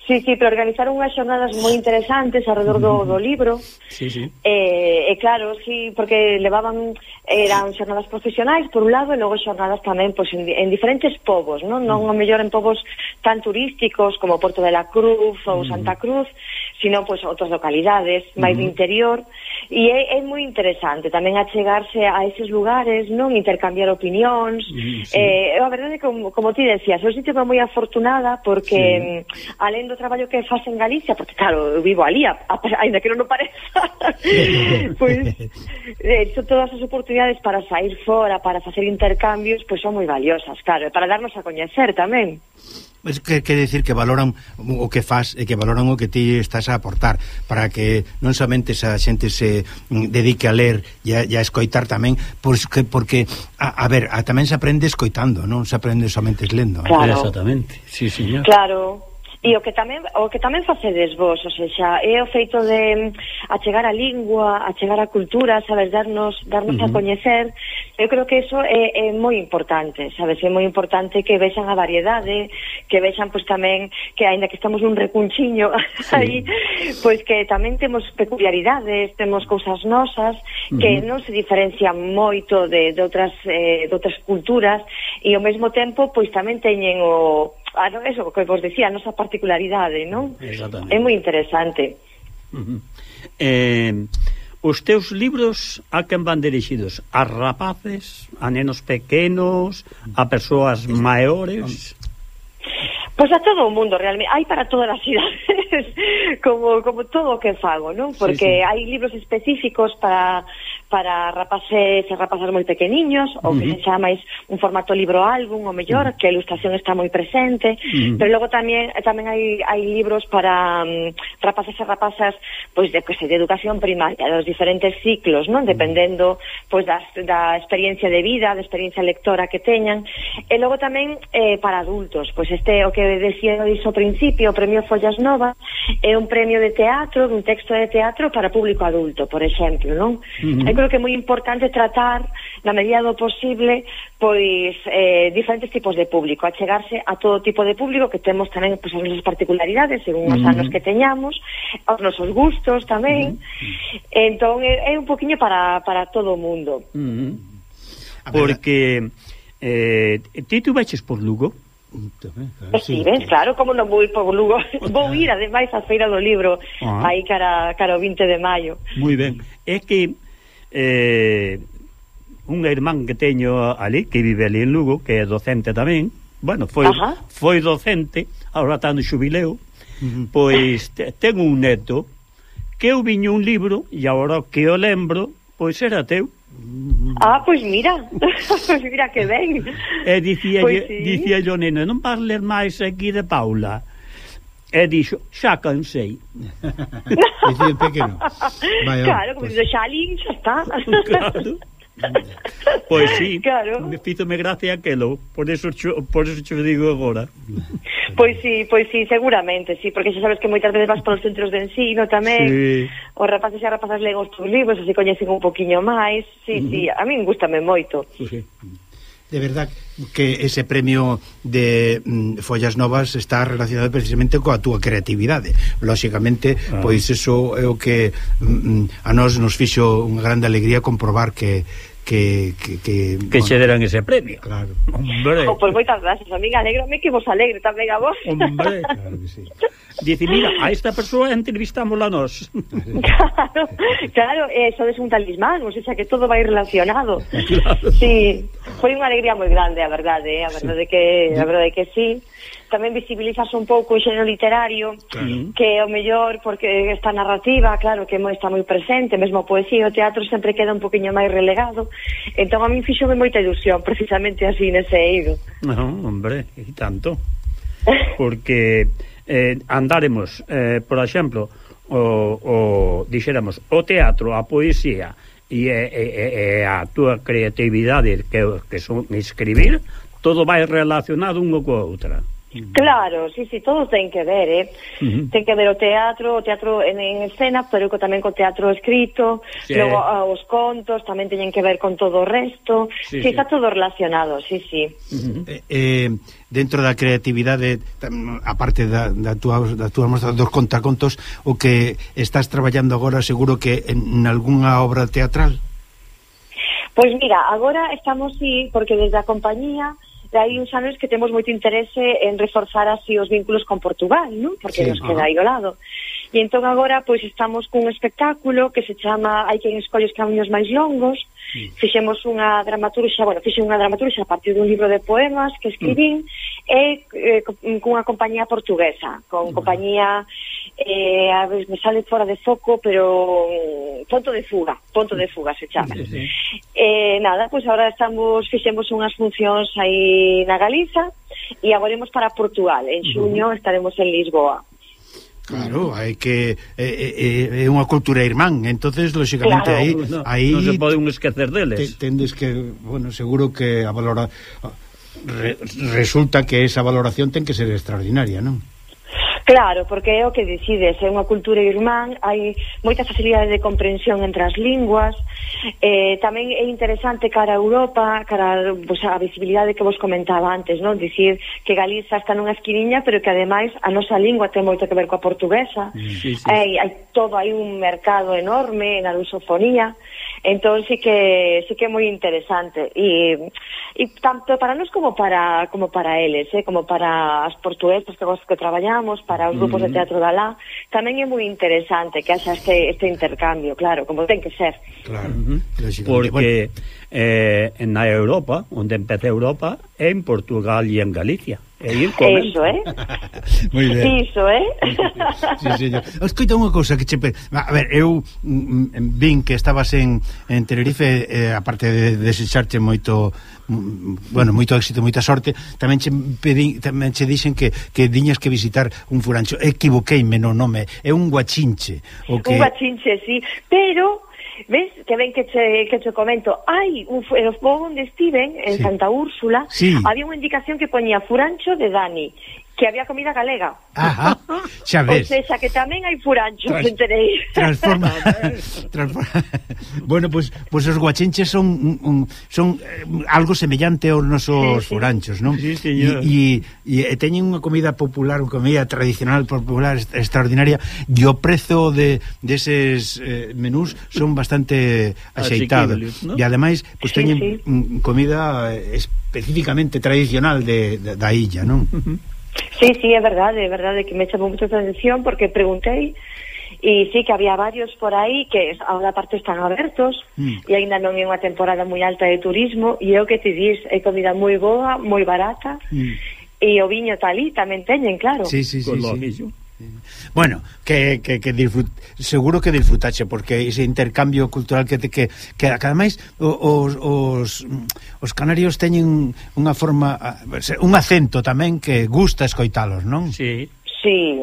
Sí, sí, pero organizaron unhas xornadas moi interesantes alrededor do, do libro. Sí, sí. E, eh, claro, sí, porque levaban, eran xornadas profesionais por un lado e logo xornadas tamén pois, en, en diferentes povos, non? Non a mellor en povos tan turísticos como Porto de la Cruz ou Santa Cruz, sino pois outras localidades máis uh-huh. de interior, e é, é moi interesante tamén achegarse a eses lugares, non? Intercambiar opinións. Uh-huh, sí. Eh, a verdade é que, como, como ti decías, eu sinto moi afortunada porque sí. alén do traballo que faz en Galicia, porque claro, eu vivo ali, a, a, ainda que non o pareza, pois eh, son todas as oportunidades para sair fora, para facer intercambios, pois son moi valiosas, claro, para darnos a coñecer tamén. Es que quere decir que valoran o que faz e que valoran o que ti estás a aportar para que non somente esa xente se dedique a ler e a, e a escoitar tamén, porque, porque a, a ver, a, tamén se aprende escoitando, non se aprende somente lendo. Claro. Exactamente, sí, señor. Claro. E o que tamén o que tamén facedes vos, o sea, é o feito de achegar a lingua, achegar a cultura, sabes, darnos darnos uh-huh. a coñecer. Eu creo que eso é, é moi importante, sabes, é moi importante que vexan a variedade, que vexan pois tamén que aínda que estamos un recunchiño sí. aí, pois que tamén temos peculiaridades, temos cousas nosas uh-huh. que non se diferencian moito de, de outras eh, de outras culturas e ao mesmo tempo pois tamén teñen o Ah, no, eso, que vos decía, a nosa particularidade, non? É moi interesante. Uh-huh. Eh, os teus libros a quen van dirixidos? A rapaces, a nenos pequenos, a persoas maiores? Pois a todo o mundo, realmente. Hai para todas as idades, como, como todo o que fago, non? Porque sí, sí. hai libros específicos para para rapaces e rapazas moi pequeniños, ou que uh -huh. se chama máis un formato libro-álbum, o mellor, uh -huh. que a ilustración está moi presente, uh -huh. pero logo tamén tamén hai, hai libros para um, rapaces e rapazas pois de, pues, de educación primaria, dos diferentes ciclos, non? Dependendo pois das, da experiencia de vida, da experiencia lectora que teñan, e logo tamén eh, para adultos, pois este, o que decía ao principio, o premio Follas Novas, é un premio de teatro, un texto de teatro para público adulto, por exemplo, non? Uh -huh. Eu creo que é moi importante tratar, na medida do posible, pois eh, diferentes tipos de público, achegarse a todo tipo de público, que temos tamén pois, as nosas particularidades según os uh -huh. anos que teñamos, os nosos gustos tamén. Uh -huh. Entón é, é un poquinho para, para todo o mundo. Uh -huh. Porque eh, ti tu veches por Lugo? Tamén, claro, sí, ves, claro, como non vou ir por Lugo. Vou ir, ademais, á Feira do Libro, ah. aí cara, cara o vinte de maio. Moi ben. É que eh, unha irmán que teño ali, que vive ali en Lugo, que é docente tamén, bueno, foi, foi docente, agora está no xubileo, uh -huh. pois te, ten un neto que eu viño un libro, e agora que o lembro, pois era teu. Ah, pois mira, pois mira que ben. E dicía pues sí. dicía yo, neno, non vas ler máis aquí de Paula. E dixo, xa cansei. Dicía el pequeno. Vaya, claro, como pues... dice, xa ali, xa está. Claro. Pois sí, claro. Me fízome gracia aquelo, por eso cho, por eso cho digo agora. Pois sí, pois sí, seguramente, sí, porque xa sabes que moitas veces vas polos centros de ensino tamén, sí. Os rapaces e rapazas leen os teus libros, así coñecen un poquinho máis, sí, uh -huh. sí, a min gustame moito. Sí. De verdad que ese premio de mm, Follas Novas está relacionado precisamente coa túa creatividade. Lóxicamente, ah. pois eso é o que mm, a nós nos fixo unha grande alegría comprobar que que que que, que bueno, che deran ese premio. Claro. Hombre. Oh, pois moitas gracias, amiga, alégrome que vos alegre tamén a vos. Hombre, claro que sí. Dice, mira, a esta persoa entrevistámosla nós. Claro, claro, eso é un talismán, o sea, que todo vai relacionado. Claro. Sí, foi unha alegría moi grande, a verdade, eh? a verdade sí. que a verdade que sí. Tamén visibilizas un pouco o xénero literario, claro. que o mellor, porque esta narrativa, claro, que está moi presente, mesmo a poesía, o teatro sempre queda un poquinho máis relegado, entón a min fixome moita ilusión, precisamente así nese eido. No, hombre, e tanto, porque eh, andaremos, eh, por exemplo, o, o, dixéramos, o teatro, a poesía e, e, e, e a túa creatividade que, que son escribir, todo vai relacionado unha coa outra. Claro, sí, sí, todo ten que ver, eh? Uh -huh. Ten que ver o teatro, o teatro en, en escena, pero tamén co teatro escrito, sí. Logo uh, os contos tamén teñen que ver con todo o resto, sí, sí, sí. Está todo relacionado, sí, sí. Uh -huh. eh, eh, dentro da creatividade, aparte da, da túa, da túa mostra dos contacontos, o que estás traballando agora, seguro que en, en algunha obra teatral? Pois mira, agora estamos, sí, porque desde a compañía hai uns anos que temos moito interese en reforzar así os vínculos con Portugal, non? Porque sí, nos queda aí ao lado. E entón agora pois estamos cun espectáculo que se chama Hai quen escolle os camiños máis longos. Sí. Fixemos unha dramaturxa, bueno, fixe unha dramaturxa a partir dun libro de poemas que escribín, mm. e eh, cunha compañía portuguesa, con mm. compañía eh, a ver, me sale fora de foco, pero Ponto de Fuga, Ponto de Fuga se chama. Sí, sí. Eh, nada, pois pues agora estamos, fixemos unhas funcións aí na Galiza e agora imos para Portugal, en xuño mm. estaremos en Lisboa. Claro, hai que é, é unha cultura irmán, entonces lógicamente claro, aí, no, aí non se pode un esquecer deles. Te, tendes que, bueno, seguro que a valora re, resulta que esa valoración ten que ser extraordinaria, non? Claro, porque é o que decides, é unha cultura irmán, hai moita facilidade de comprensión entre as linguas, eh, tamén é interesante cara a Europa, cara pues, a visibilidade que vos comentaba antes, non? Dicir que Galiza está nunha esquiniña, pero que ademais a nosa lingua ten moito que ver coa portuguesa, sí, sí. Hai, hai todo, hai un mercado enorme na lusofonía, entón sí que sí que é moi interesante e, e tanto para nós como para como para eles, eh, como para as portuguesas que, que traballamos, para os grupos mm. de teatro da lá, tamén é moi interesante que haxa este, este intercambio, claro, como ten que ser. Claro, uh -huh. Porque eh, na Europa, onde empeza Europa, é en Portugal e en Galicia. E ir comendo. Eso, eh? Moi ben. Iso, eh? Sí, señor. Escoita unha cousa que che... A ver, eu mm, vin que estabas en, en Tenerife, eh, aparte de desecharche moito... bueno, moito éxito, moita sorte, tamén che pedín, tamén che dixen que que diñas que visitar un furancho. Equivoqueime no nome, é un guachinche, o que Un guachinche, sí, pero ves que ven que che, que che comento, hai un en os povos onde estiven en Sí. Santa Úrsula, Sí. había unha indicación que poñía furancho de Dani, que había comida galega. Ajá, xa O ves. sea, que tamén hai furanchos, Trans- enterei. Transforma, transforma. Bueno, pues, pues os guachinches son un, un, son eh, algo semellante aos nosos Sí, sí. furanchos, non? Sí, señor. E, e, e teñen unha comida popular, unha comida tradicional popular est- extraordinaria, e o prezo de deses de eh, menús son bastante axeitados. Asequibles, ¿no? E ademais, pues Sí, teñen sí. mm, comida eh, especificamente tradicional de, de, da illa, non? Sí, sí, é verdade, é verdade que me chamou moita atención porque preguntei e sí que había varios por aí que ahora aparte están abertos Mm. e aínda non é unha temporada moi alta de turismo e é o que te dis, é comida moi boa, moi barata Mm. e o viño talí tamén teñen, claro. Sí, sí, sí, Con lo sí. mismo. Bueno, que, que, que disfrut, seguro que disfrutache porque ese intercambio cultural que te, que, que ademais os, os, os canarios teñen unha forma, un acento tamén que gusta escoitalos, non? Sí. Sí,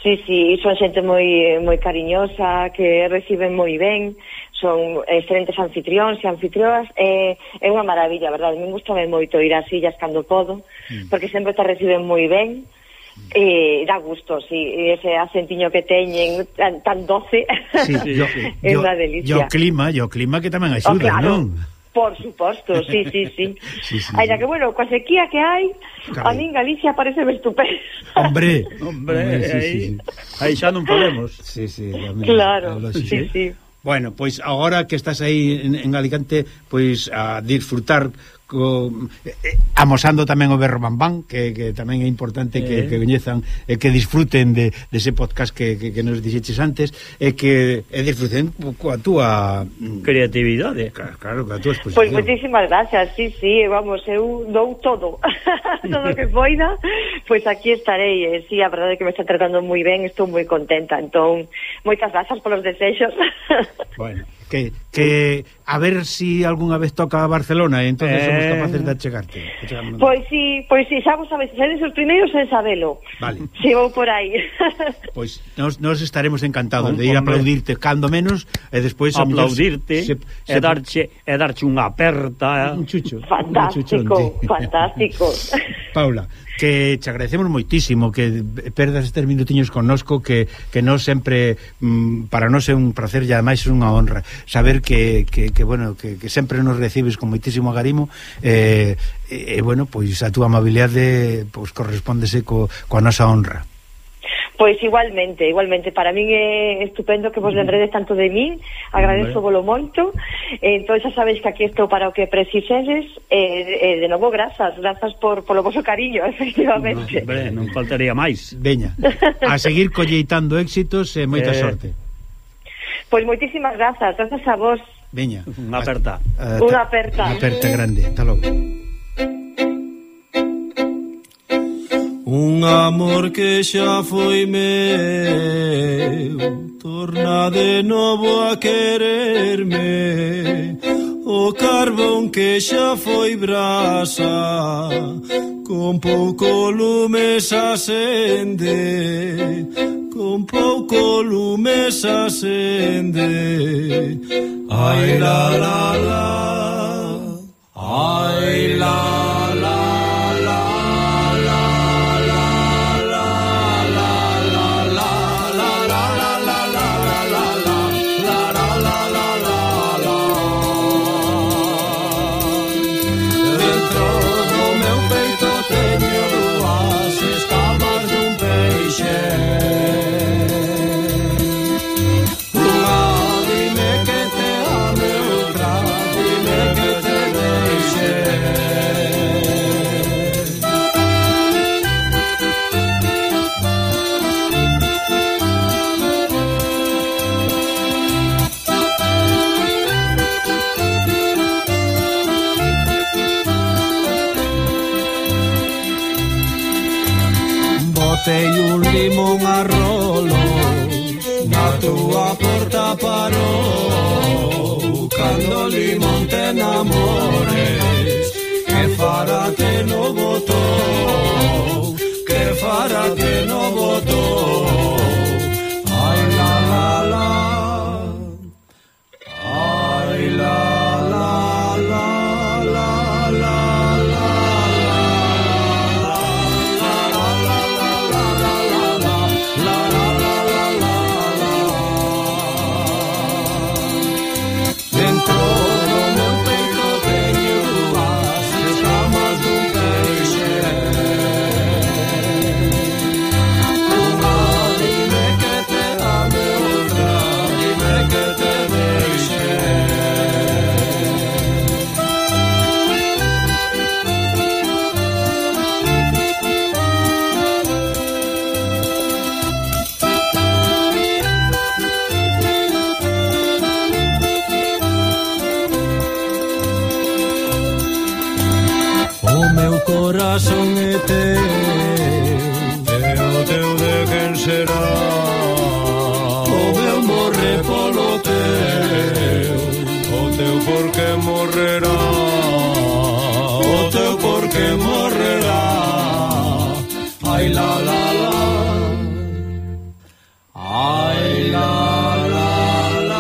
sí, sí, son xente moi moi cariñosa, que reciben moi ben, son excelentes anfitrións e anfitrioas, é, é unha maravilla, verdade, me gusta moito ir ás illas cando podo, Mm. porque sempre te reciben moi ben, e dá gusto, sí, e ese acentiño que teñen tan, tan doce, Sí, yo, é yo, unha yo delicia. clima, yo clima que tamén Oh, axuda, claro. non? Por suposto, sí, sí, sí. Sí, sí, Ainda sí. que, bueno, coa sequía que hai, Carai. a min Galicia parece estupendo. Hombre, Hombre, sí, aí, sí, aí xa non podemos. sí, sí, sí, Claro, é lógico. sí, sí. Bueno, pois agora que estás aí en, en Alicante, pois a disfrutar co, eh, amosando tamén o berro bambán, que, que tamén é importante que, Eh. que coñezan e que disfruten de, de ese podcast que, que, que nos dixeches antes e que e disfruten coa túa Creatividade. claro, claro, coa túa exposición. Pois moitísimas gracias, sí, sí, vamos, eu dou todo, todo o que poida, pois aquí estarei, e sí, a verdade é que me está tratando moi ben, estou moi contenta, entón, moitas grazas polos desexos. Bueno, que, que a ver si algunha vez toca a Barcelona e entonces Eh. somos capaces de achegarte. Achegamos- Pois sí, pois sí, xa vos sabes, sedes os primeiros en sabelo. Vale. Si vou por aí. Pois nos, nos estaremos encantados Hom- de ir a hombre. aplaudirte cando menos e despois a mellor Aplaudirte se- e darche e darche unha aperta. un chucho, Fantástico, un chuchón, sí. fantástico. Paula, que te agradecemos moitísimo que perdas estes minutiños connosco, que, que nos sempre mm, para nós é un placer e ademais é unha honra saber que, que, que bueno, que, que sempre nos recibes con moitísimo agarimo e, eh, eh, bueno, pois a túa amabilidade pois correspóndese co, coa nosa honra. Pois igualmente, igualmente, para min é estupendo que vos lembredes tanto de min, agradezo volo moito, e entón xa sabéis que aquí estou para o que precisedes, e, e de novo grazas, grazas por polo vosso cariño, efectivamente. Hombre, non faltaría máis. Veña, a seguir colleitando éxitos e moita Eh. sorte. Pois moitísimas grazas, grazas a vos. Veña, Unha aperta. a- a- Unha aperta. Unha aperta grande, hasta logo. Un amor que xa foi meu torna de novo a quererme. O carbón que xa foi brasa con pouco lume se acende, con pouco lume se acende. Ai la la la, ai la la la la la la la la la la la la la la la la la. Dentro do meu peito teño dúas escamas dun peixe. Unha dime que te ame, outra limón a rolo, na túa porta parou. Cando o limón te enamores, que fará que no botou, que fará que no botou. Ai la la la, ai la la la la la la. Corazón é teu, e o teu de quen será? O meu morre polo teu, o teu por que morrerá? O teu por que morrerá? Ai la la la, ai la la la la la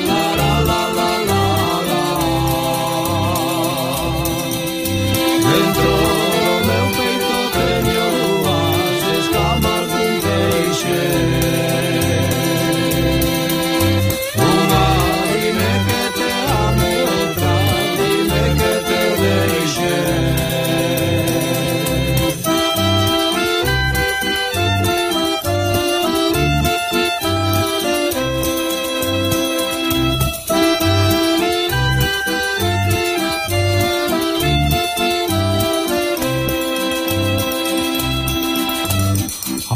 la la la la. Dentro do meu peito teño as escamas dun peixe. Unha dime que te ame, outra dime que te deixe.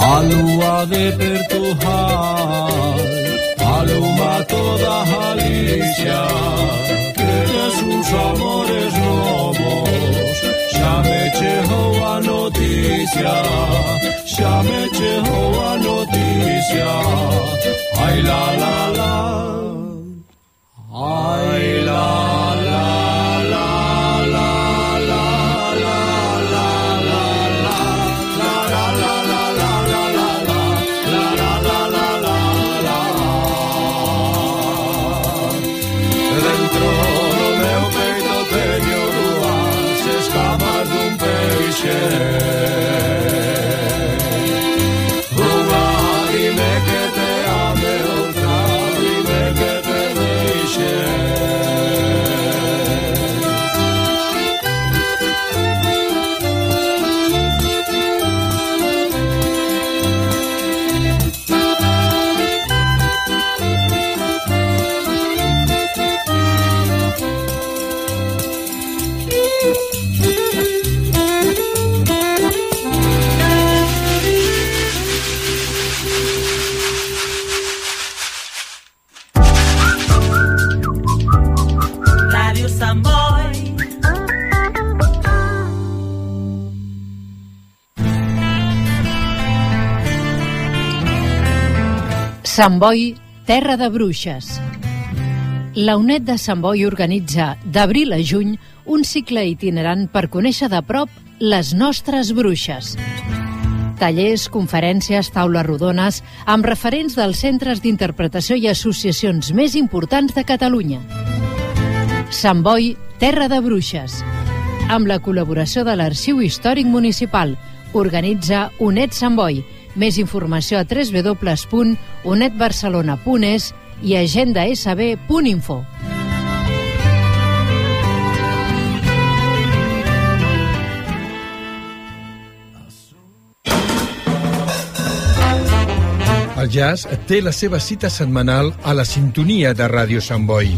A lúa de Pertujar aluma toda Galicia, que tes uns amores novos, xa me chegou a noticia, xa me chegou a noticia. Ai la la la, ai la la la la la la la la la la la la la la la la la la. Dentro do meu peito teño dúas escamas dun peixe. Unha dime que te ame, outra dime que te deixe. Radio Samboy. Sant Boi, terra de bruixes. La U N E D de Sant Boi organitza, d'abril a juny, un cicle itinerant per conèixer de prop les nostres bruixes. Tallers, conferències, taules rodones, amb referents dels centres d'interpretació i associacions més importants de Catalunya. Sant Boi, terra de bruixes. Amb la col·laboració de l'Arxiu Històric Municipal, organitza U N E D Sant Boi. Més informació a w w w punt unedbarcelona punt es i agenda s b punt info. El jazz té la seva cita setmanal a la sintonia de Ràdio Sant Boi.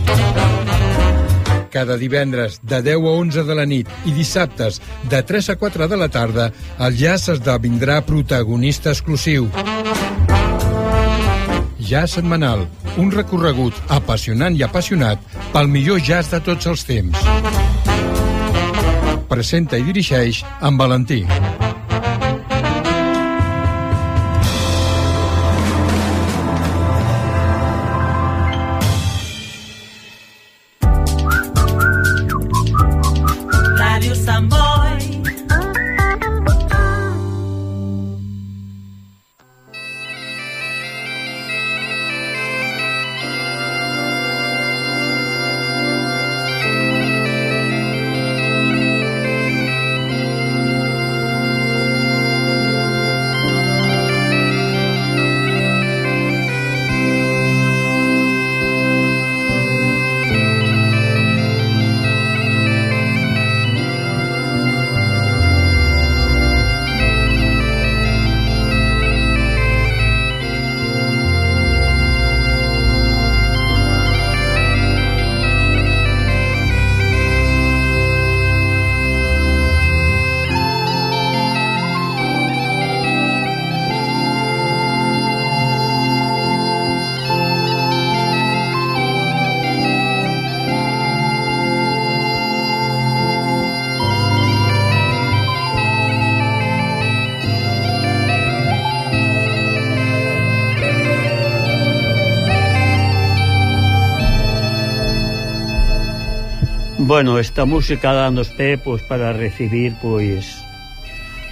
Cada divendres de deu a onze de la nit i dissabtes de tres a quatre de la tarda, el jazz esdevindrà protagonista exclusiu. Jazz Setmanal, un recorregut apassionant i apassionat pel millor jazz de tots els temps. Presenta i dirigeix en Valentí. Radio Samboy. Bueno, esta música danos pé pois, para recibir pois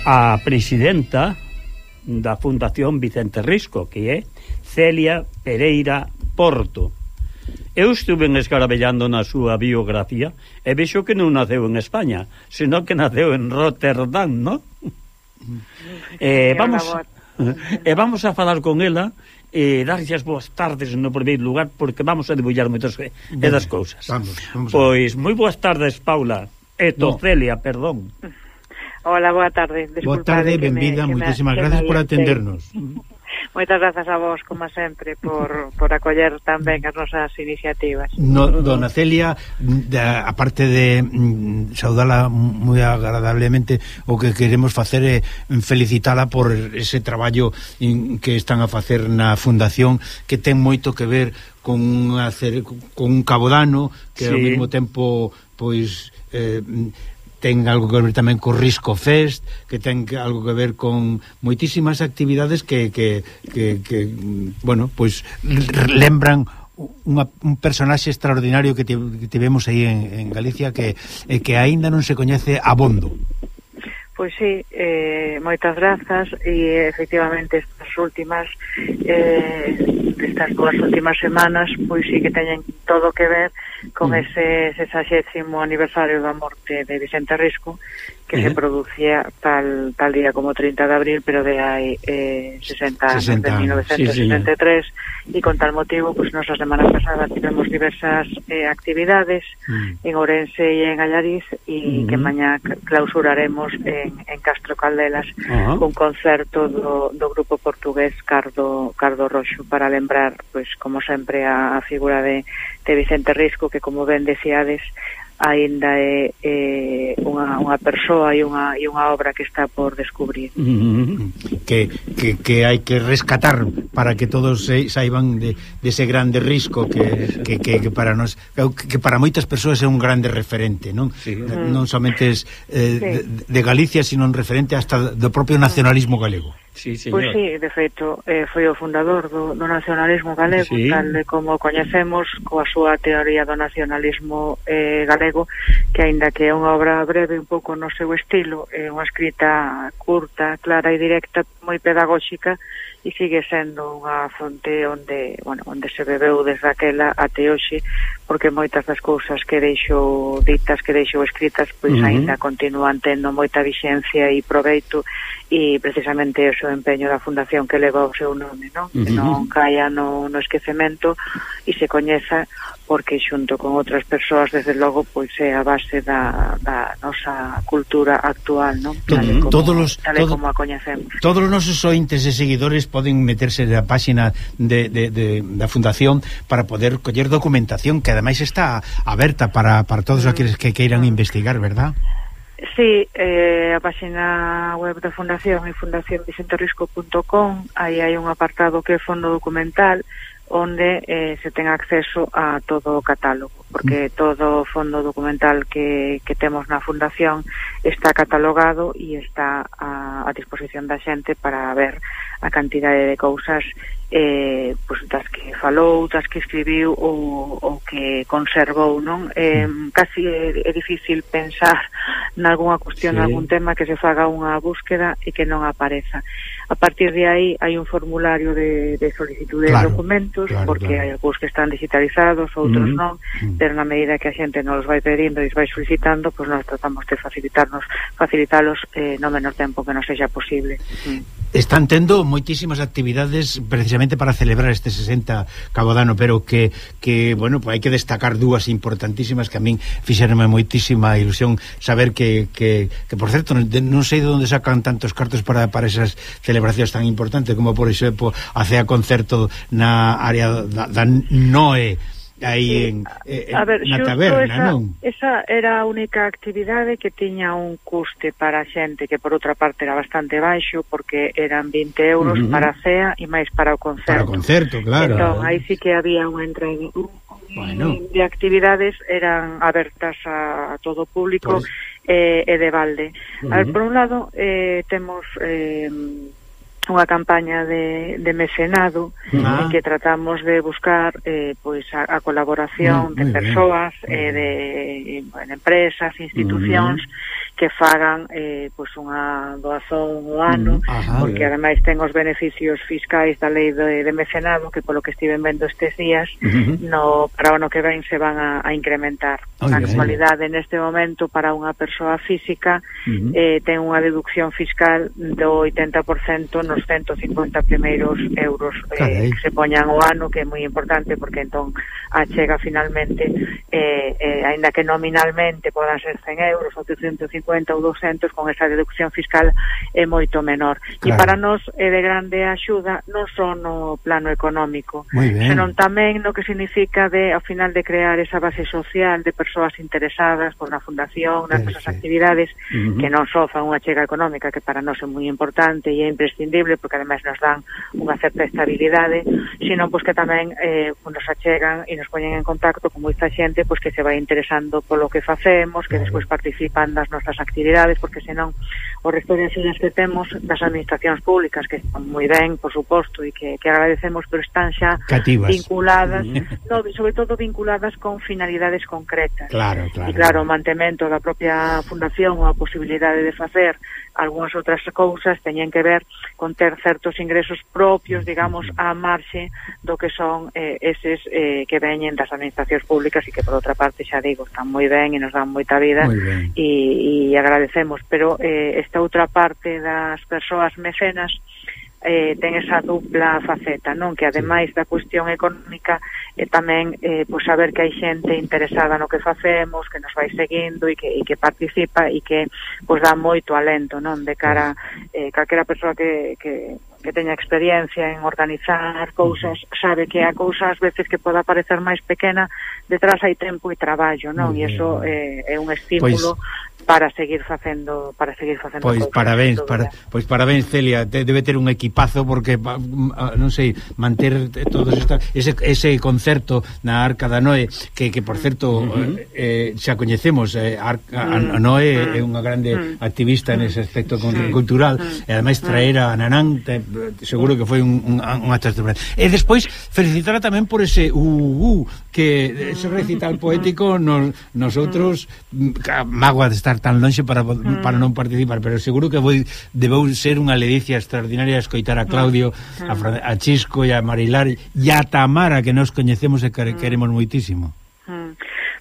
a presidenta da Fundación Vicente Risco, que é Celia Pereira Porto. Eu estuve escarabellando na súa biografía e vexo que non naceu en España, senón que naceu en Rotterdam, non? eh, vamos, e vamos a falar con ela e darlle as boas tardes no primeiro lugar, porque vamos a debullar moitas e das cousas. Vamos, vamos pois moi boas tardes, Paula e no. Celia, perdón. Hola, boa tarde. Boa tarde, benvida, moitísimas gracias por atendernos. Moitas grazas a vos, como sempre, por, por acoller tamén as nosas iniciativas. No, dona Celia, da, aparte de mm, saudala moi agradablemente, o que queremos facer é felicitala por ese traballo in, que están a facer na Fundación, que ten moito que ver con, hacer, con un cabodano, que sí. Ao mesmo tempo, pois... Eh, ten algo que ver tamén co Risco Fest, que ten algo que ver con moitísimas actividades que, que, que, que bueno, pois lembran unha, un personaxe extraordinario que, te, que tivemos aí en, en Galicia que, eh, que aínda non se coñece abondo. Pois sí, eh, moitas grazas e efectivamente estas últimas eh, estas dúas últimas semanas pois sí que teñen todo que ver con mm. ese sexagésimo aniversario da morte de Vicente Risco, que uh-huh. se producía tal tal día como trinta de abril, pero de hai eh, sesenta anos, de mil novecientos sesenta e tres, e sí, con tal motivo, pues nosa semana pasada tivemos diversas eh, actividades mm. en Ourense e en Allariz, e mm-hmm. que mañá clausuraremos en, en Castro Caldelas uh-huh. un concerto do, do grupo portugués Cardo, Cardo Roxo, para lembrar, pues como sempre, a, a figura de, de Vicente Risco, que como ben decíades, aínda é, é unha, unha persoa e unha, e unha obra que está por descubrir. Mm-hmm. Que, que, que hai que rescatar para que todos saiban de, de ese grande Risco que, que, que, que para nos que para moitas persoas é un grande referente, non? Sí. Non somente es, eh, sí. de, de Galicia, sino un referente hasta do propio nacionalismo galego. Sí, señor. Pois sí, de feito, eh, foi o fundador do, do nacionalismo galego, sí. tal de como coñecemos, coa súa teoría do nacionalismo eh, galego, que aínda que é unha obra breve un pouco no seu estilo, é unha escrita curta, clara e directa, moi pedagóxica, e sigue sendo unha fonte onde, bueno, onde se bebeu desde aquela até hoxe, porque moitas das cousas que deixou ditas, que deixou escritas, pois uh-huh. aínda continúan tendo moita vixencia e proveito, e precisamente o seu empeño da fundación que leva o seu nome, non? Uh-huh. Que non caia no, no esquecemento e se coñeza, porque xunto con outras persoas, desde logo, pois é a base da, da nosa cultura actual, non? Tal e como, todos los, tal todo, como a coñecemos. Todos os nosos ointes e seguidores poden meterse na páxina de, de, de, da fundación para poder coller documentación que ademais está aberta para, para todos aqueles que queiran investigar, verdad? Sí, eh, a página web da Fundación é fundación vicente risco punto com. Aí hai un apartado que é fondo documental, onde eh, se ten acceso a todo o catálogo, porque todo o fondo documental que, que temos na Fundación está catalogado e está a, a disposición da xente para ver a cantidade de cousas eh, pues, das que falou, das que escribiu ou, ou que conservou, non? Eh, casi é, é difícil pensar nalgúna cuestión, sí. Algún tema que se faga unha búsqueda e que non apareza. A partir de aí hai un formulario de, de solicitud de claro, documentos, claro, porque claro. Hai algúns que están digitalizados, outros mm-hmm. non, mm-hmm. pero na medida que a xente nos vai pedindo e nos vai solicitando, pois pues nós tratamos de facilitarnos, facilitalos eh, no menor tempo que nos sexa posible. Mm. Están tendo moitísimas actividades precisamente para celebrar este sesenta cabo de ano, pero que, que bueno, pues hai que destacar dúas importantísimas que a min fixeronme moitísima ilusión saber que, que, que por certo, non sei de onde sacan tantos cartos para, para esas celebracións tan importantes como, por exemplo, a cea concerto na área da, da Noe, aí en, en, a ver, na taberna, esa, non? Esa era a única actividade que tiña un custe para a xente, que por outra parte era bastante baixo, porque eran vinte euros uh-huh. para a cea e máis para o concerto. Para o concerto, claro. Entón, aí sí que había unha entrada bueno. de actividades, eran abertas a, a todo o público, pues... eh, e de balde. Uh-huh. A ver, por un lado, eh, temos... Eh, unha campaña de, de mecenado ah. en que tratamos de buscar eh, pois a, a colaboración muy, muy de persoas, eh, de bueno, empresas, institucións uh-huh. que fagan eh, pois unha doazón ao ano, uh-huh. porque ademais ten os beneficios fiscais da lei de, de mecenado que polo que estiven vendo estes días uh-huh. no, para o ano que ven se van a, a incrementar. Oh, a actualidade neste momento para unha persoa física uh-huh. eh, ten unha deducción fiscal do oitenta por cento nos ciento cincuenta primeiros euros eh, que se poñan o ano, que é moi importante porque entón achega finalmente eh, eh, aínda que nominalmente podan ser cen euros ou ciento cincuenta ou doscientos, con esa deducción fiscal é moito menor. Claro. E para nós é de grande axuda non só no plano económico, senón tamén no que significa de, ao final, de crear esa base social de persoas interesadas por na fundación, nas nosas sí. actividades uh-huh. que non só fan unha chega económica, que para nós é moi importante e é imprescindible porque ademais nos dan unha certa estabilidade, sino pois que tamén eh, nos achegan e nos poñen en contacto con moita xente pois que se vai interesando polo que facemos, que despois participan das nosas actividades, porque senón o resto de axudas que temos das administracións públicas, que están moi ben, por suposto, e que, que agradecemos, pero están xa cativas. Vinculadas, no, sobre todo vinculadas con finalidades concretas. Claro, claro. E claro, o mantemento da propia fundación ou a posibilidade de facer algunhas outras cousas teñen que ver con ter certos ingresos propios, digamos, á marxe do que son eh, eses eh, que veñen das administracións públicas e que, por outra parte, xa digo, están moi ben e nos dan moita vida e, e agradecemos, pero eh, esta outra parte das persoas mecenas eh, ten esa dupla faceta, non? Que ademais da cuestión económica e eh, tamén eh, pois saber que hai xente interesada no que facemos, que nos vai seguindo e que, e que participa e que pois dá moito alento, non? De cara eh, calquera persoa que, que que teña experiencia en organizar cousas, sabe que a cousa ás veces que poda parecer máis pequena, detrás hai tempo e traballo, non? E iso eh, é un estímulo pues, para seguir facendo, para seguir facendo pois cousas. Parabéns, para, pois parabéns, Celia, te, debe ter un equipazo porque non sei, manter todos esta, ese ese concerto na Arca da Noe, que que por certo uh-huh. eh, xa coñecemos, eh, a, a, a Noe uh-huh. é unha grande uh-huh. activista nese aspecto uh-huh. cultural, uh-huh. e ademais traer a Nanán te, seguro que foi un, un, unha chastura. E despois felicitarla tamén por ese uh, uh, que ese recital poético nos, nosotros mágoa de estar tan lonxe para, para non participar, pero seguro que voi, debeu ser unha ledicia extraordinaria escoitar a Claudio, a, a Chisco e a Marilar e a Tamara, que nos coñecemos e que queremos moitísimo.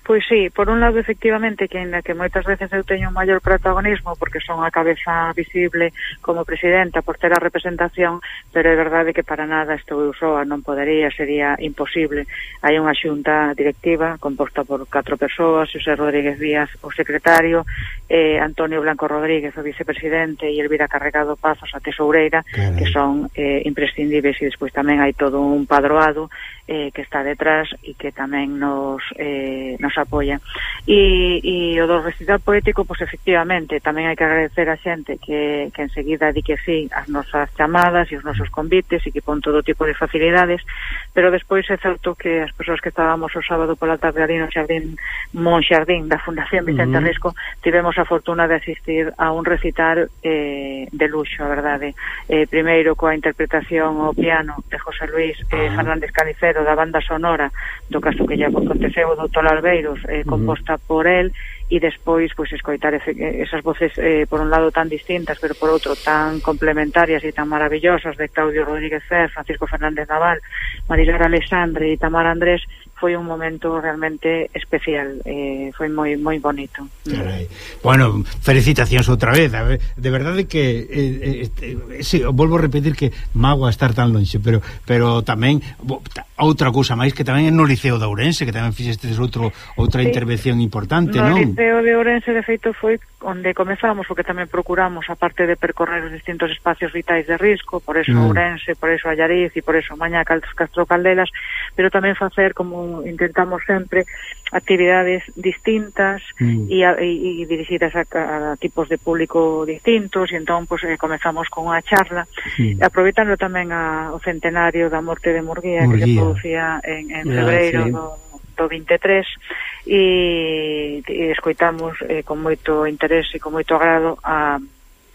Pois sí, por un lado, efectivamente, que ainda que moitas veces eu teño un maior protagonismo porque son a cabeza visible como presidenta por ter a representación, pero é verdade que para nada estou eu soa, non podería, sería imposible. Hai unha xunta directiva composta por catro persoas, Xosé Rodríguez Díaz, o secretario, eh, Antonio Blanco Rodríguez, o vicepresidente, e Elvira Carregado Pazos, a tesoureira, Caray. que son eh, imprescindibles, e despois tamén hai todo un padroado eh, que está detrás e que tamén nos eh, nos apoia. E, e o do recital poético, pois efectivamente, tamén hai que agradecer a xente que, que enseguida di que sí as nosas chamadas e os nosos convites e que pon todo tipo de facilidades, pero despois é certo que as persoas que estábamos o sábado pola tarde ali no Xardín Monxardín da Fundación Vicente uh -huh. Risco tivemos a fortuna de asistir a un recital eh, de luxo, a verdade. Eh, primeiro coa interpretación ao piano de José Luis eh, uh -huh. Fernández Calicero da banda sonora do caso que lle aconteceu o doutor Albeiros, eh, composta uh -huh. por el, e despois pois escoitar esas voces eh, por un lado tan distintas pero por outro tan complementarias e tan maravillosas de Claudio Rodríguez Fer, Francisco Fernández Naval, Marilar Alexandre e Tamara Andrés. Foi un momento realmente especial, eh, foi moi moi bonito. Carai. Bueno, felicitacións outra vez, a ver, de verdade que eh, eh, sí, volvo a repetir que mágoa estar tan lonxe, pero pero tamén outra cousa máis que tamén é no Liceo de Ourense, que tamén fixestes outro outra sí. intervención importante, no, non? No Liceo de Ourense, de feito, foi onde comezamos, porque tamén procuramos, aparte de percorrer os distintos espacios vitais de risco, por eso mm. Ourense, por eso Allariz e por eso Mañá Castro Caldelas, pero tamén facer como intentamos sempre actividades distintas mm. e, e, e dirixidas a, a tipos de público distintos, e entón pues, eh, comezamos con unha charla mm. aproveitando tamén a, o centenario da morte de Murguía, Murguía. que se producía en, en febreiro ah, sí. do, do vinte e tres, e, e escoitamos eh, con moito interés e con moito agrado a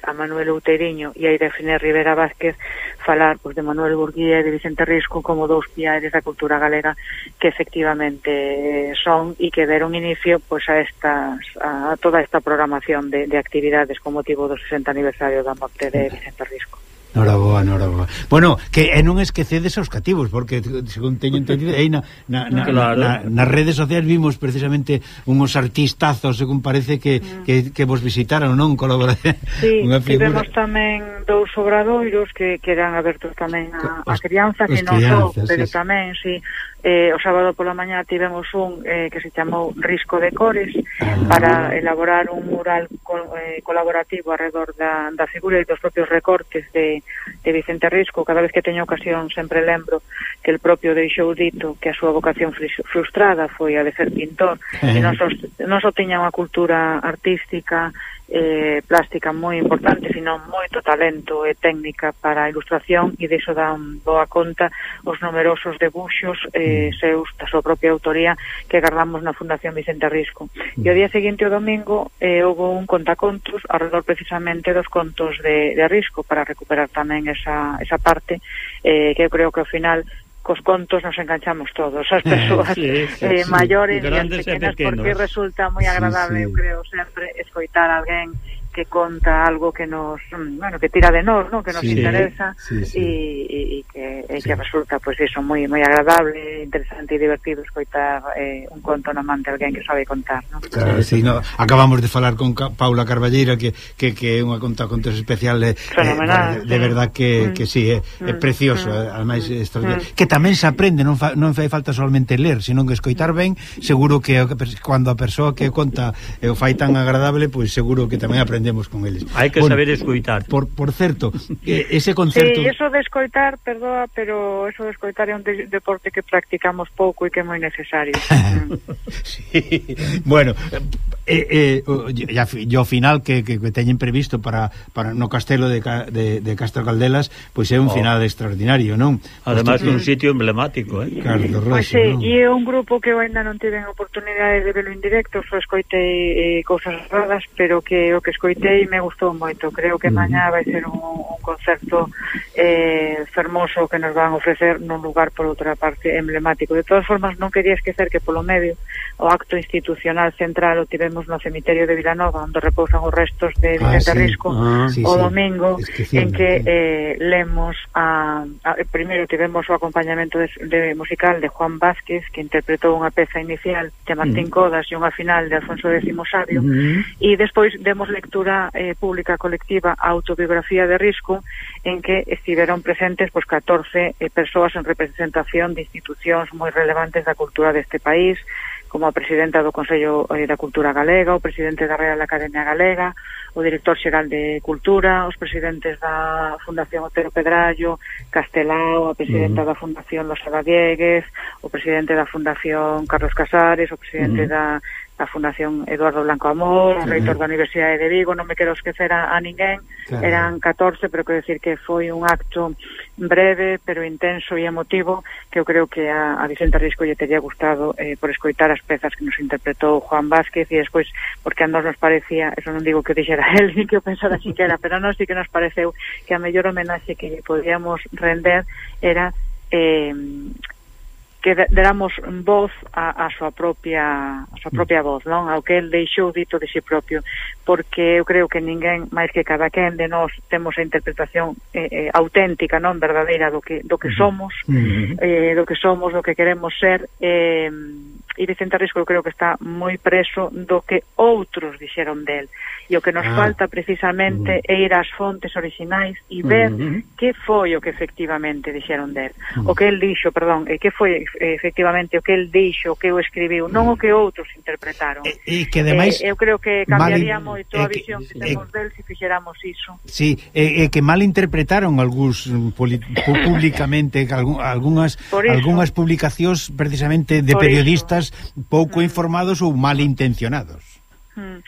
a Manuel Outeiriño e a Irefine Rivera Vázquez falar pues, de Manuel Burguía e de Vicente Risco como dous piares da cultura galega que efectivamente son e que deron inicio pues, a, estas, a toda esta programación de, de actividades con motivo do sesenta aniversario da morte de Vicente Risco. Noraboa, noraboa. Bueno, que e non esquecedes aos cativos, porque según teño entendido aí na, na, na, claro. na, nas redes sociais vimos precisamente unhos artistazos, según parece que, mm. que, que vos visitaron, non? Colaborar. Sí, tivemos tamén dous obradoiros que, que eran abertos tamén a, a crianza, que non só, pero sí. tamén, sí. Eh, o sábado pola mañá tivemos un eh, que se chamou Risco de Cores ah, para elaborar un mural col, eh, colaborativo alrededor da, da figura e dos propios recortes de, de Vicente Risco. Cada vez que teño ocasión sempre lembro que el propio deixou dito que a súa vocación frustrada foi a de ser pintor eh. e non só, non só tiña unha cultura artística eh, plástica moi importante, sino moito talento e técnica para a ilustración, e de iso dan boa conta os numerosos debuxos eh, seus da súa propia autoría que guardamos na Fundación Vicente Risco. E o día seguinte, o domingo, eh, houve un contacontos alrededor precisamente dos contos de, de Risco para recuperar tamén esa, esa parte eh, que eu creo que ao final cos contos nos enganchamos todos, as persoas sí, sí, eh, sí. maiores e as pequenas, porque resulta moi agradable, sí, sí. eu creo, sempre escoitar a alguén que conta algo que nos, bueno, que tira de nós, ¿no? Que nos sí, interesa sí, sí. E, e que, e sí. que resulta, pues eso, moi moi agradable, interesante e divertido escoitar eh, un conto na man de alguén que sabe contar, ¿no? Claro, sí, no, acabamos de falar con Ca Paula Carballeira que que que é unha conta contos especial eh, fenomenal, eh, de, de verdad que, mm. que sí, é, é precioso, mm. ademais mm. que tamén se aprende, non fa, non fai falta solamente ler, sino que escoitar ben, seguro que cando a persoa que conta eh, o fai tan agradable, pois pues, seguro que tamén aprende con eles. Hai que bueno, saber escoitar. Por, por certo, ese concerto... Sí, eso de escoitar, perdoa, pero eso de escoitar é un de deporte que practicamos pouco e que é moi necesario. Sí, bueno, eh, eh, ya, yo final que, que, que teñen previsto para, para no castelo de, de, de Castro Caldelas, pois pues é un oh. final extraordinario, non? Además, un sitio emblemático, eh? Carlos Roxo, pues sí, non? E é un grupo que eu ainda non tiven oportunidade de verlo en directo, só escoitei eh, cousas raras, pero que o que escoitei e me gustou moito. Creo que mañá vai ser un, un concerto eh, fermoso que nos van a ofrecer nun lugar, por outra parte, emblemático. De todas formas, non quería esquecer que polo medio o acto institucional central o tivemos no cemiterio de Vilanova, onde repousan os restos de Vicente ah, sí. Risco ah, sí, o domingo, sí. es que en que eh, lemos a, a primeiro tivemos o acompañamento de, de musical de Juan Vázquez, que interpretou unha peza inicial de Martín mm. Codas e unha final de Alfonso X Sabio, mm. e despois demos lectura Eh, pública colectiva a autobiografía de Risco, en que estiveron presentes pues, catorce eh, persoas en representación de institucións moi relevantes da cultura deste país, como a presidenta do Consello da Cultura Galega, o presidente da Real Academia Galega, o director xeral de Cultura, os presidentes da Fundación Otero Pedrallo, Castelao, a presidenta uh -huh. da Fundación Losada Diegues, o presidente da Fundación Carlos Casares, o presidente uh -huh. da a Fundación Eduardo Blanco Amor, o reitor da Universidade de Vigo, non me quero esquecer a, a ninguén, claro. Eran catorce, pero quero decir que foi un acto breve, pero intenso e emotivo, que eu creo que a, a Vicente Risco lle teria gustado eh, por escoitar as pezas que nos interpretou Juan Vázquez, e despois, porque a nos nos parecía, eso non digo que o dixera él, ni que o pensara siquiera, pero a nos sí que nos pareceu que a mellor homenaxe que lle podíamos render era eh, que deramos voz a, a súa propia a súa propia voz, non? Ao que el deixou dito de si propio, porque eu creo que ninguén máis que cada quen de nós temos a interpretación eh, eh, auténtica, non verdadeira do que do que somos, uh-huh. eh, do que somos, do que queremos ser, eh, e Vicente Risco eu creo que está moi preso do que outros dixeron del, e o que nos ah. falta precisamente uh-huh. é ir ás fontes orixinais e ver uh-huh. que foi o que efectivamente dixeron del, uh-huh. o que el dixo, perdón, e que foi efectivamente o que el dixo, o que eu escribiu, non o que outros interpretaron. E, e que demais eh, eu creo que cambiaría mal, moito a visión que, que temos eh, del se fixéramos iso. Sí, e eh, que mal interpretaron algúns públicamente algunhas algunhas publicacións precisamente de Por periodistas eso. pouco mm. informados ou mal intencionados. Mm.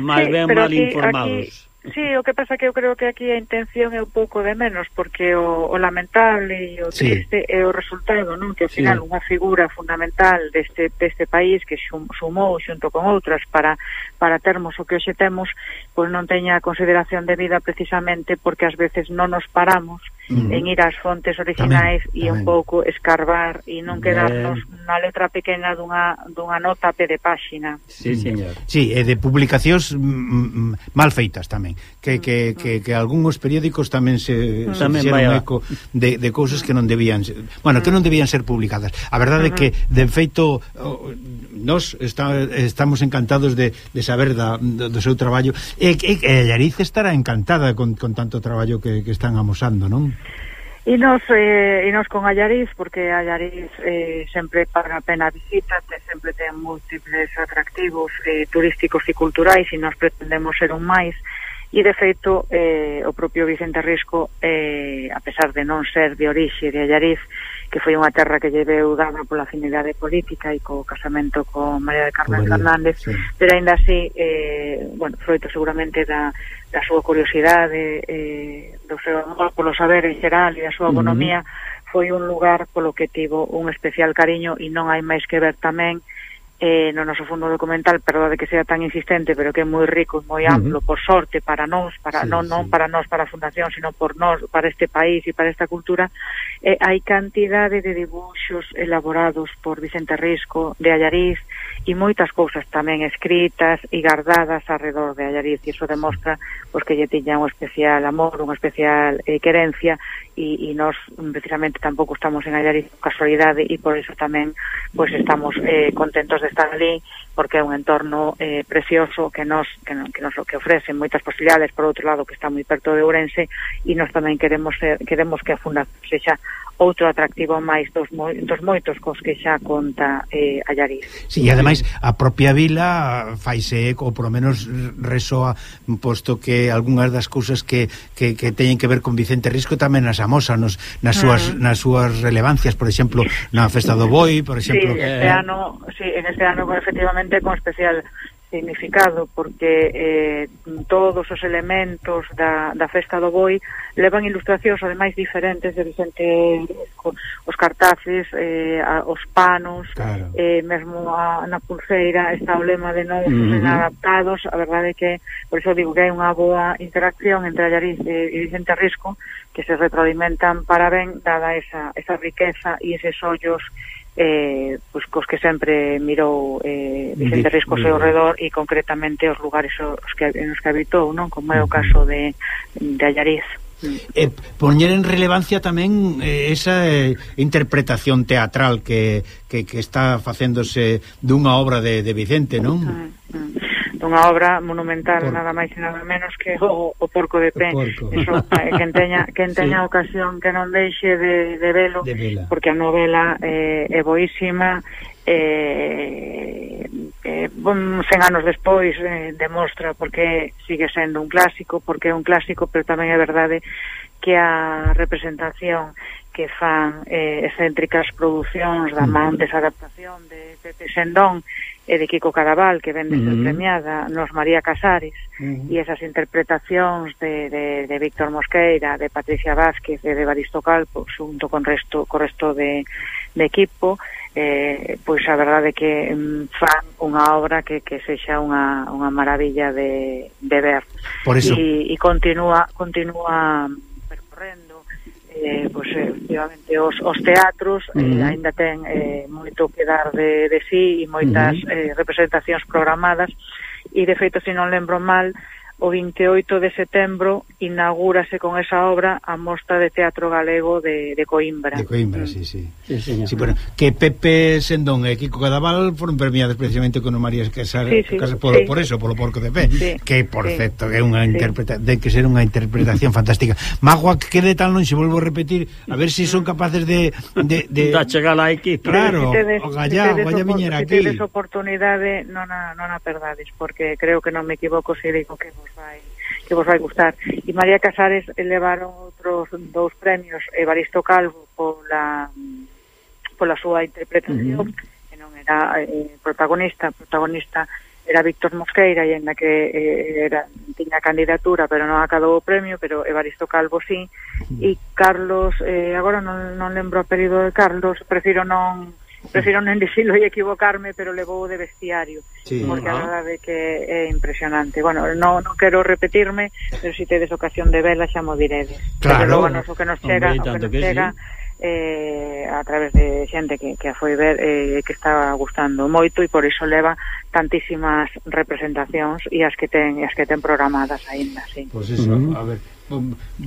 Mal sí, ben mal aquí, informados. Aquí... Sí, o que pasa que eu creo que aquí a intención é un pouco de menos, porque o, o lamentable e o triste sí. é o resultado, non? Que ao final sí. unha figura fundamental deste, deste país que xum, sumou xunto con outras para, para termos o que hoxe temos, pois non teña consideración de vida precisamente porque ás veces non nos paramos mm. en ir ás fontes originais tamén, e tamén. un pouco escarbar e non quedarnos Bien. na letra pequena dunha, dunha nota a pé de páxina. Sí, señor. Sí, e de publicacións mm, mal feitas tamén. Que, que, que, que algúns periódicos tamén se, se fixeron eco de, de cousas que non debían ser, bueno, que non debían ser publicadas. A verdade é que, de feito, nós está, estamos encantados de, de saber da, do, do seu traballo, e, e, e Allariz estará encantada con, con tanto traballo que, que están amosando, non? E nos, eh, e nos con Allariz, porque Allariz eh, sempre paga a pena a visita, te, sempre ten múltiples atractivos eh, turísticos e culturais, e nos pretendemos ser un máis, e de feito eh, o propio Vicente Risco, eh, a pesar de non ser de orixe de Allariz, que foi unha terra que lle veu dada pola afinidade política e co casamento con María de Carmen María, Fernández, sí. pero ainda así, eh, bueno, froito seguramente da, da súa curiosidade, eh, do seu amor polo saber en xeral e da súa economía, uh-huh. foi un lugar polo que tivo un especial cariño, e non hai máis que ver tamén eh, no noso fondo documental, perdón de que sea tan insistente, pero que é moi rico e moi amplo, uh-huh. por sorte, para nós, para sí, non, non sí. para nós, para a Fundación, sino por nós, para este país e para esta cultura, eh, hai cantidade de dibuxos elaborados por Vicente Risco de Allariz, e moitas cousas tamén escritas e guardadas alrededor de Allariz, e iso demostra pois, que lle tiña un especial amor, unha especial eh, querencia, e, e nós precisamente tampouco estamos en Allariz casualidade, e por iso tamén pois estamos eh, contentos de estar ali, porque é un entorno eh, precioso que nos que, no, que nos que ofrece moitas posibilidades, por outro lado que está moi perto de Ourense, e nós tamén queremos ser, queremos que a Fundación sexa outro atractivo máis dos, moi, dos moitos cos que xa conta eh, Allariz. Sí, e ademais a propia vila faise eco, ou por lo menos resoa, posto que algunhas das cousas que, que, que teñen que ver con Vicente Risco tamén nas amosa nos, nas, súas, uh -huh. nas súas relevancias, por exemplo, na Festa do Boi, por exemplo. Sí, este eh... ano, sí, en este ano efectivamente con especial significado, porque eh, todos os elementos da, da Festa do Boi levan ilustracións ademais diferentes de Vicente Risco, os cartaces, eh, a, os panos, claro. eh, mesmo a, na pulseira está o lema de novos uh -huh. adaptados. A verdade é que, por iso digo que hai unha boa interacción entre Allariz e, e Vicente Risco, que se retroalimentan para ben, dada esa, esa riqueza e eses ollos eh, pues, cos que sempre mirou eh, Vicente Risco ao seu redor, e concretamente os lugares os que, nos que habitou, non? Como é o caso de, de Allariz. Eh, poñer en relevancia tamén eh, esa eh, interpretación teatral que, que, que está facéndose dunha obra de, de Vicente, non? dunha obra monumental, porco. Nada máis e nada menos que o, o Porco de Pé. Eso, eh, quen teña, quen teña sí. ocasión que non deixe de, de velo, de porque a novela eh, é boísima, eh, eh, cen anos despois eh, demostra porque sigue sendo un clásico, porque é un clásico, pero tamén é verdade que a representación que fan eh, excéntricas producións da man desa adaptación de Pepe Sendón e de Kiko Cadaval, que ven de ser uh-huh. premiada nos María Casares, uh-huh. e esas interpretacións de, de, de Víctor Mosqueira, de Patricia Vázquez e de Evaristo Calvo, xunto con resto co resto de, de equipo, eh, pois a verdade é que mm, fan unha obra que, que sexa unha, unha maravilla de, de ver. Por eso. E, e continúa, continúa percorrendo Eh, pois, efectivamente, os, os teatros uh-huh. eh, ainda ten eh, moito que dar de, de sí e moitas uh-huh. eh, representacións programadas, e de feito, se non lembro mal, o vinte e oito de setembro inaugúrase con esa obra a Mostra de Teatro Galego de, de Coimbra. De Coimbra, mm. sí, sí. Sí, sí, sí, bueno, que Pepe Sendón e Kiko Cadaval foron premiados precisamente con María Casares, sí, sí, Casares por, sí. por eso, polo Porco de Pé, sí. que, por sí. certo, é unha sí. interpretación, de que ser unha interpretación fantástica. Magua, que de tal non se volvo a repetir, a ver se si son capaces de... de, de... da chegar aquí. Claro, si tedes, o gallá, si vaya viñera si aquí. Si tedes oportunidade, non a, non a perdades, porque creo que non me equivoco se digo que vos vai que vos vai gustar. E María Casares levaron outros dous premios, Evaristo Calvo pola pola súa interpretación, uh-huh. que non era eh, protagonista, protagonista era Víctor Mosqueira, e en la que eh, era, tiña candidatura, pero non acadou o premio, pero Evaristo Calvo sí, uh-huh. e Carlos, eh, agora non, non lembro o apelido de Carlos, prefiro non prefiro non dicilo e equivocarme, pero levou de vestiario, sí, porque a verdade que é impresionante. Bueno, non, non quero repetirme, pero se si tedes ocasión de vela xa mo diredes. Claro. Pero logo nos, o que nos chega, Hombre, o que nos que chega sí. eh, a través de xente que, que a foi ver e eh, que estaba gustando moito, e por iso leva tantísimas representacións e as que ten, e as que ten programadas aínda, sí. Pois pues eso, uh-huh. a ver,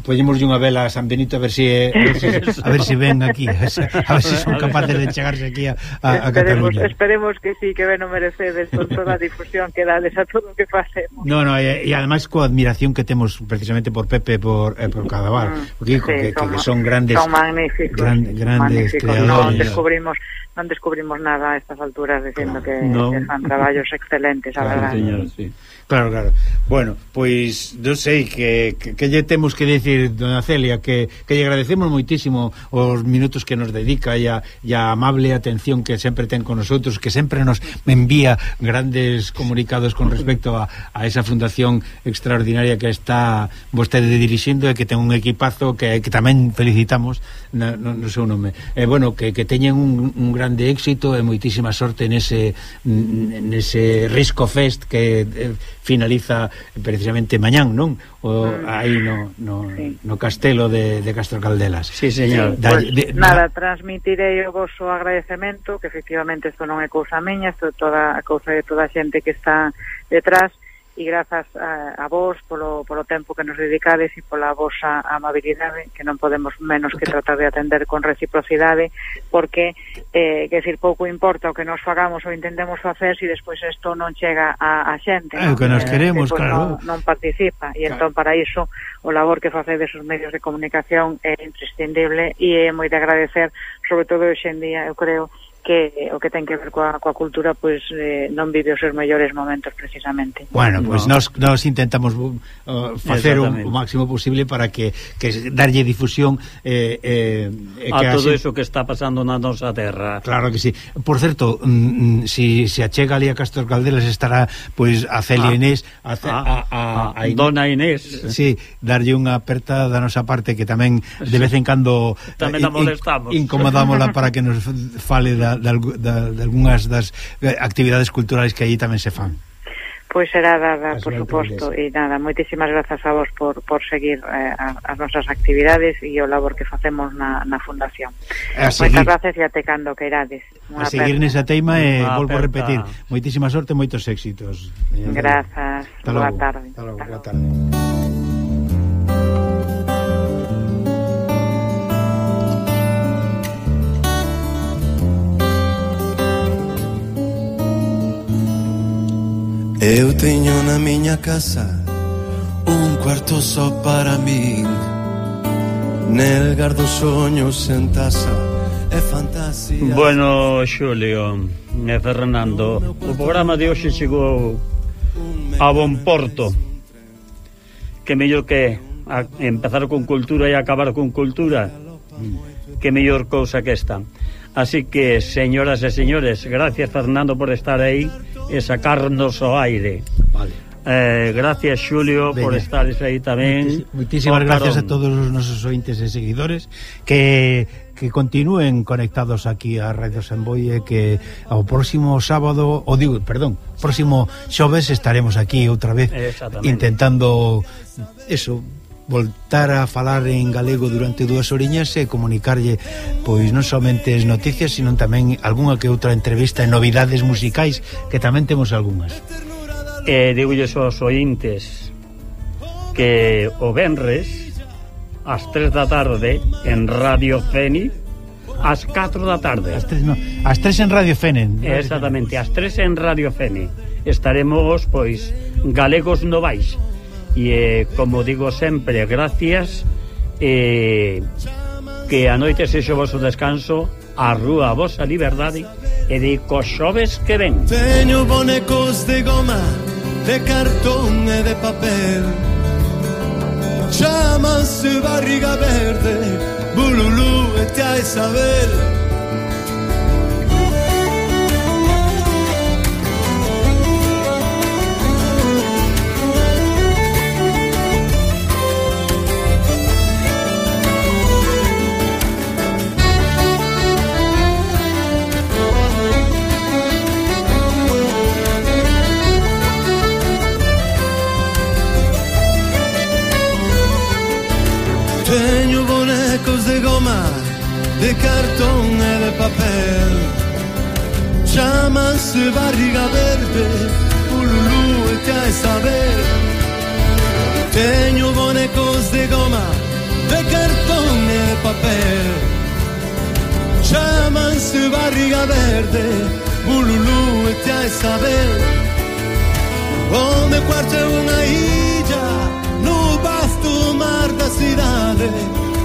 poñemos unha vela a San Benito a ver si a ver si, a ver si ven aquí, a ver si, a ver si son capaces de chegarse aquí a, a, a esperemos, Cataluña. Esperemos que sí, que ben o merecedes con toda a difusión que dades a todo o que facemos. No, no, e, e ademais coa admiración que temos precisamente por Pepe e por, eh, por Cadaval, mm, porque, sí, que, son, que, que son grandes, son magníficos, gran, grandes magníficos. creadores. Non descubrimos non descubrimos nada a estas alturas dicindo que, no. que fan traballos excelentes, a verdade. Señor, sí. Claro, claro. Bueno, pois non sei que, que, que lle temos que decir, dona Celia, que, que lle agradecemos moitísimo os minutos que nos dedica e a, e a amable atención que sempre ten con nosotros, que sempre nos envía grandes comunicados con respecto a, a esa fundación extraordinaria que está vostede dirixindo e que ten un equipazo que, que tamén felicitamos no, no, no seu nome. E, bueno, que, que teñen un, un grande éxito e moitísima sorte nese, nese Risco Fest que eh, finaliza precisamente mañán, non? O aí no, no, sí. no castelo de, de Castro Caldelas. Sí, señor. Sí, da, pues, de, nada, transmitirei o vosso agradecemento, que efectivamente isto non é cousa miña, isto é toda a cousa de toda a xente que está detrás, e grazas a, a vos polo, polo tempo que nos dedicades e pola vosa amabilidade, que non podemos menos que tratar de atender con reciprocidade, porque eh, que decir, pouco importa o que nos fagamos ou intentemos facer se si despois isto non chega a, a xente, é o que nos queremos, eh, claro, non, non participa, e entón para iso o labor que facedes os medios de comunicación é imprescindible e é moi de agradecer, sobre todo hoxe en día, eu creo que o que ten que ver coa, coa cultura pois eh, non vive os seus mellores momentos precisamente. Bueno, pois pues no. nos, nos intentamos uh, facer o, o máximo posible para que, que darlle difusión eh, eh, a que todo así, eso que está pasando na nosa terra. Claro que sí. Por certo, mm, si se achega ali a Castro Caldelas estará pois a Celia ah, Inés a, a, a, a, a, a Dona Inés. Sí, darlle unha aperta da nosa parte que tamén de vez en cando tamén a molestamos. Incomodámola para que nos fale da De, de, de algunhas das actividades culturales que aí tamén se fan. Pois será dada, por suposto, e nada, moitísimas grazas a vos por, por seguir eh, as nosas actividades e o labor que facemos na, na Fundación. Moitas grazas e até cando que irades. A seguir nesa teima e volvo a repetir, moitísima sorte e moitos éxitos. Grazas, boa tarde. Hasta logo, boa tarde. Eu teño na miña casa un cuarto só para min, nel gardo soños en tasa e fantasía. Bueno, Xulio e Fernando, o programa de hoxe chegou a bon porto. Que mellor que a empezar con cultura e acabar con cultura, que mellor cousa que esta. Así que, señoras e señores, gracias, Fernando, por estar aí e sacarnos ao aire. Vale. Eh, gracias, Xulio, Venga. por estar aí tamén. Moitísimas gracias a todos os nosos ointes e seguidores que que continúen conectados aquí a Radio Samboy e que ao próximo sábado, ou digo, perdón, próximo xoves estaremos aquí outra vez intentando eso, voltar a falar en galego durante dúas oriñas e comunicarlle pois non somente as noticias, sino tamén algunha que outra entrevista e novidades musicais, que tamén temos algunhas. E digolles aos ointes que o venres ás tres da tarde en Radio Feni, ás catro da tarde. Ás tres, no, ás tres en Radio Feni. Exactamente, ás tres en Radio Feni. Estaremos, pois, galegos novais. E, eh, como digo sempre, gracias, eh, que a noite sexa o vosso descanso, a rúa a vosa liberdade, e de cos xoves que ven. Teño bonecos de goma, de cartón e de papel, chámanse Barriga Verde, Bululú e Tia Isabel. Teño bonecos de goma, de cartón e de papel, chámanse Barriga Verde, Bululú e Tia Isabel. Teño bonecos de goma, de cartón e de papel, chámanse Barriga Verde, Bululú e Tia Isabel. O meu cuarto é unha illa no vasto mar da cidade,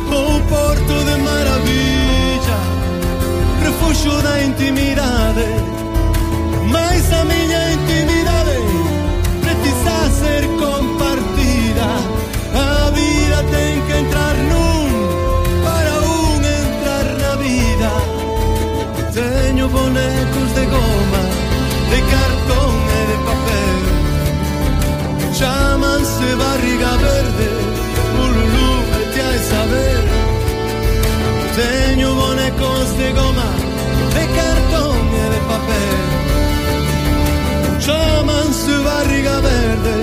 o porto de maravilla, refugio da intimidade. Mas a miña intimidade precisa ser compartida. A vida ten que entrar nun para un entrar na vida. Teño bonecos de goma, de cartón e de papel, chámanse Barriga Verde, Bululú e Tia Isabel. Teño bonecos de goma, de cartón e de papel, chámanse Barriga Verde,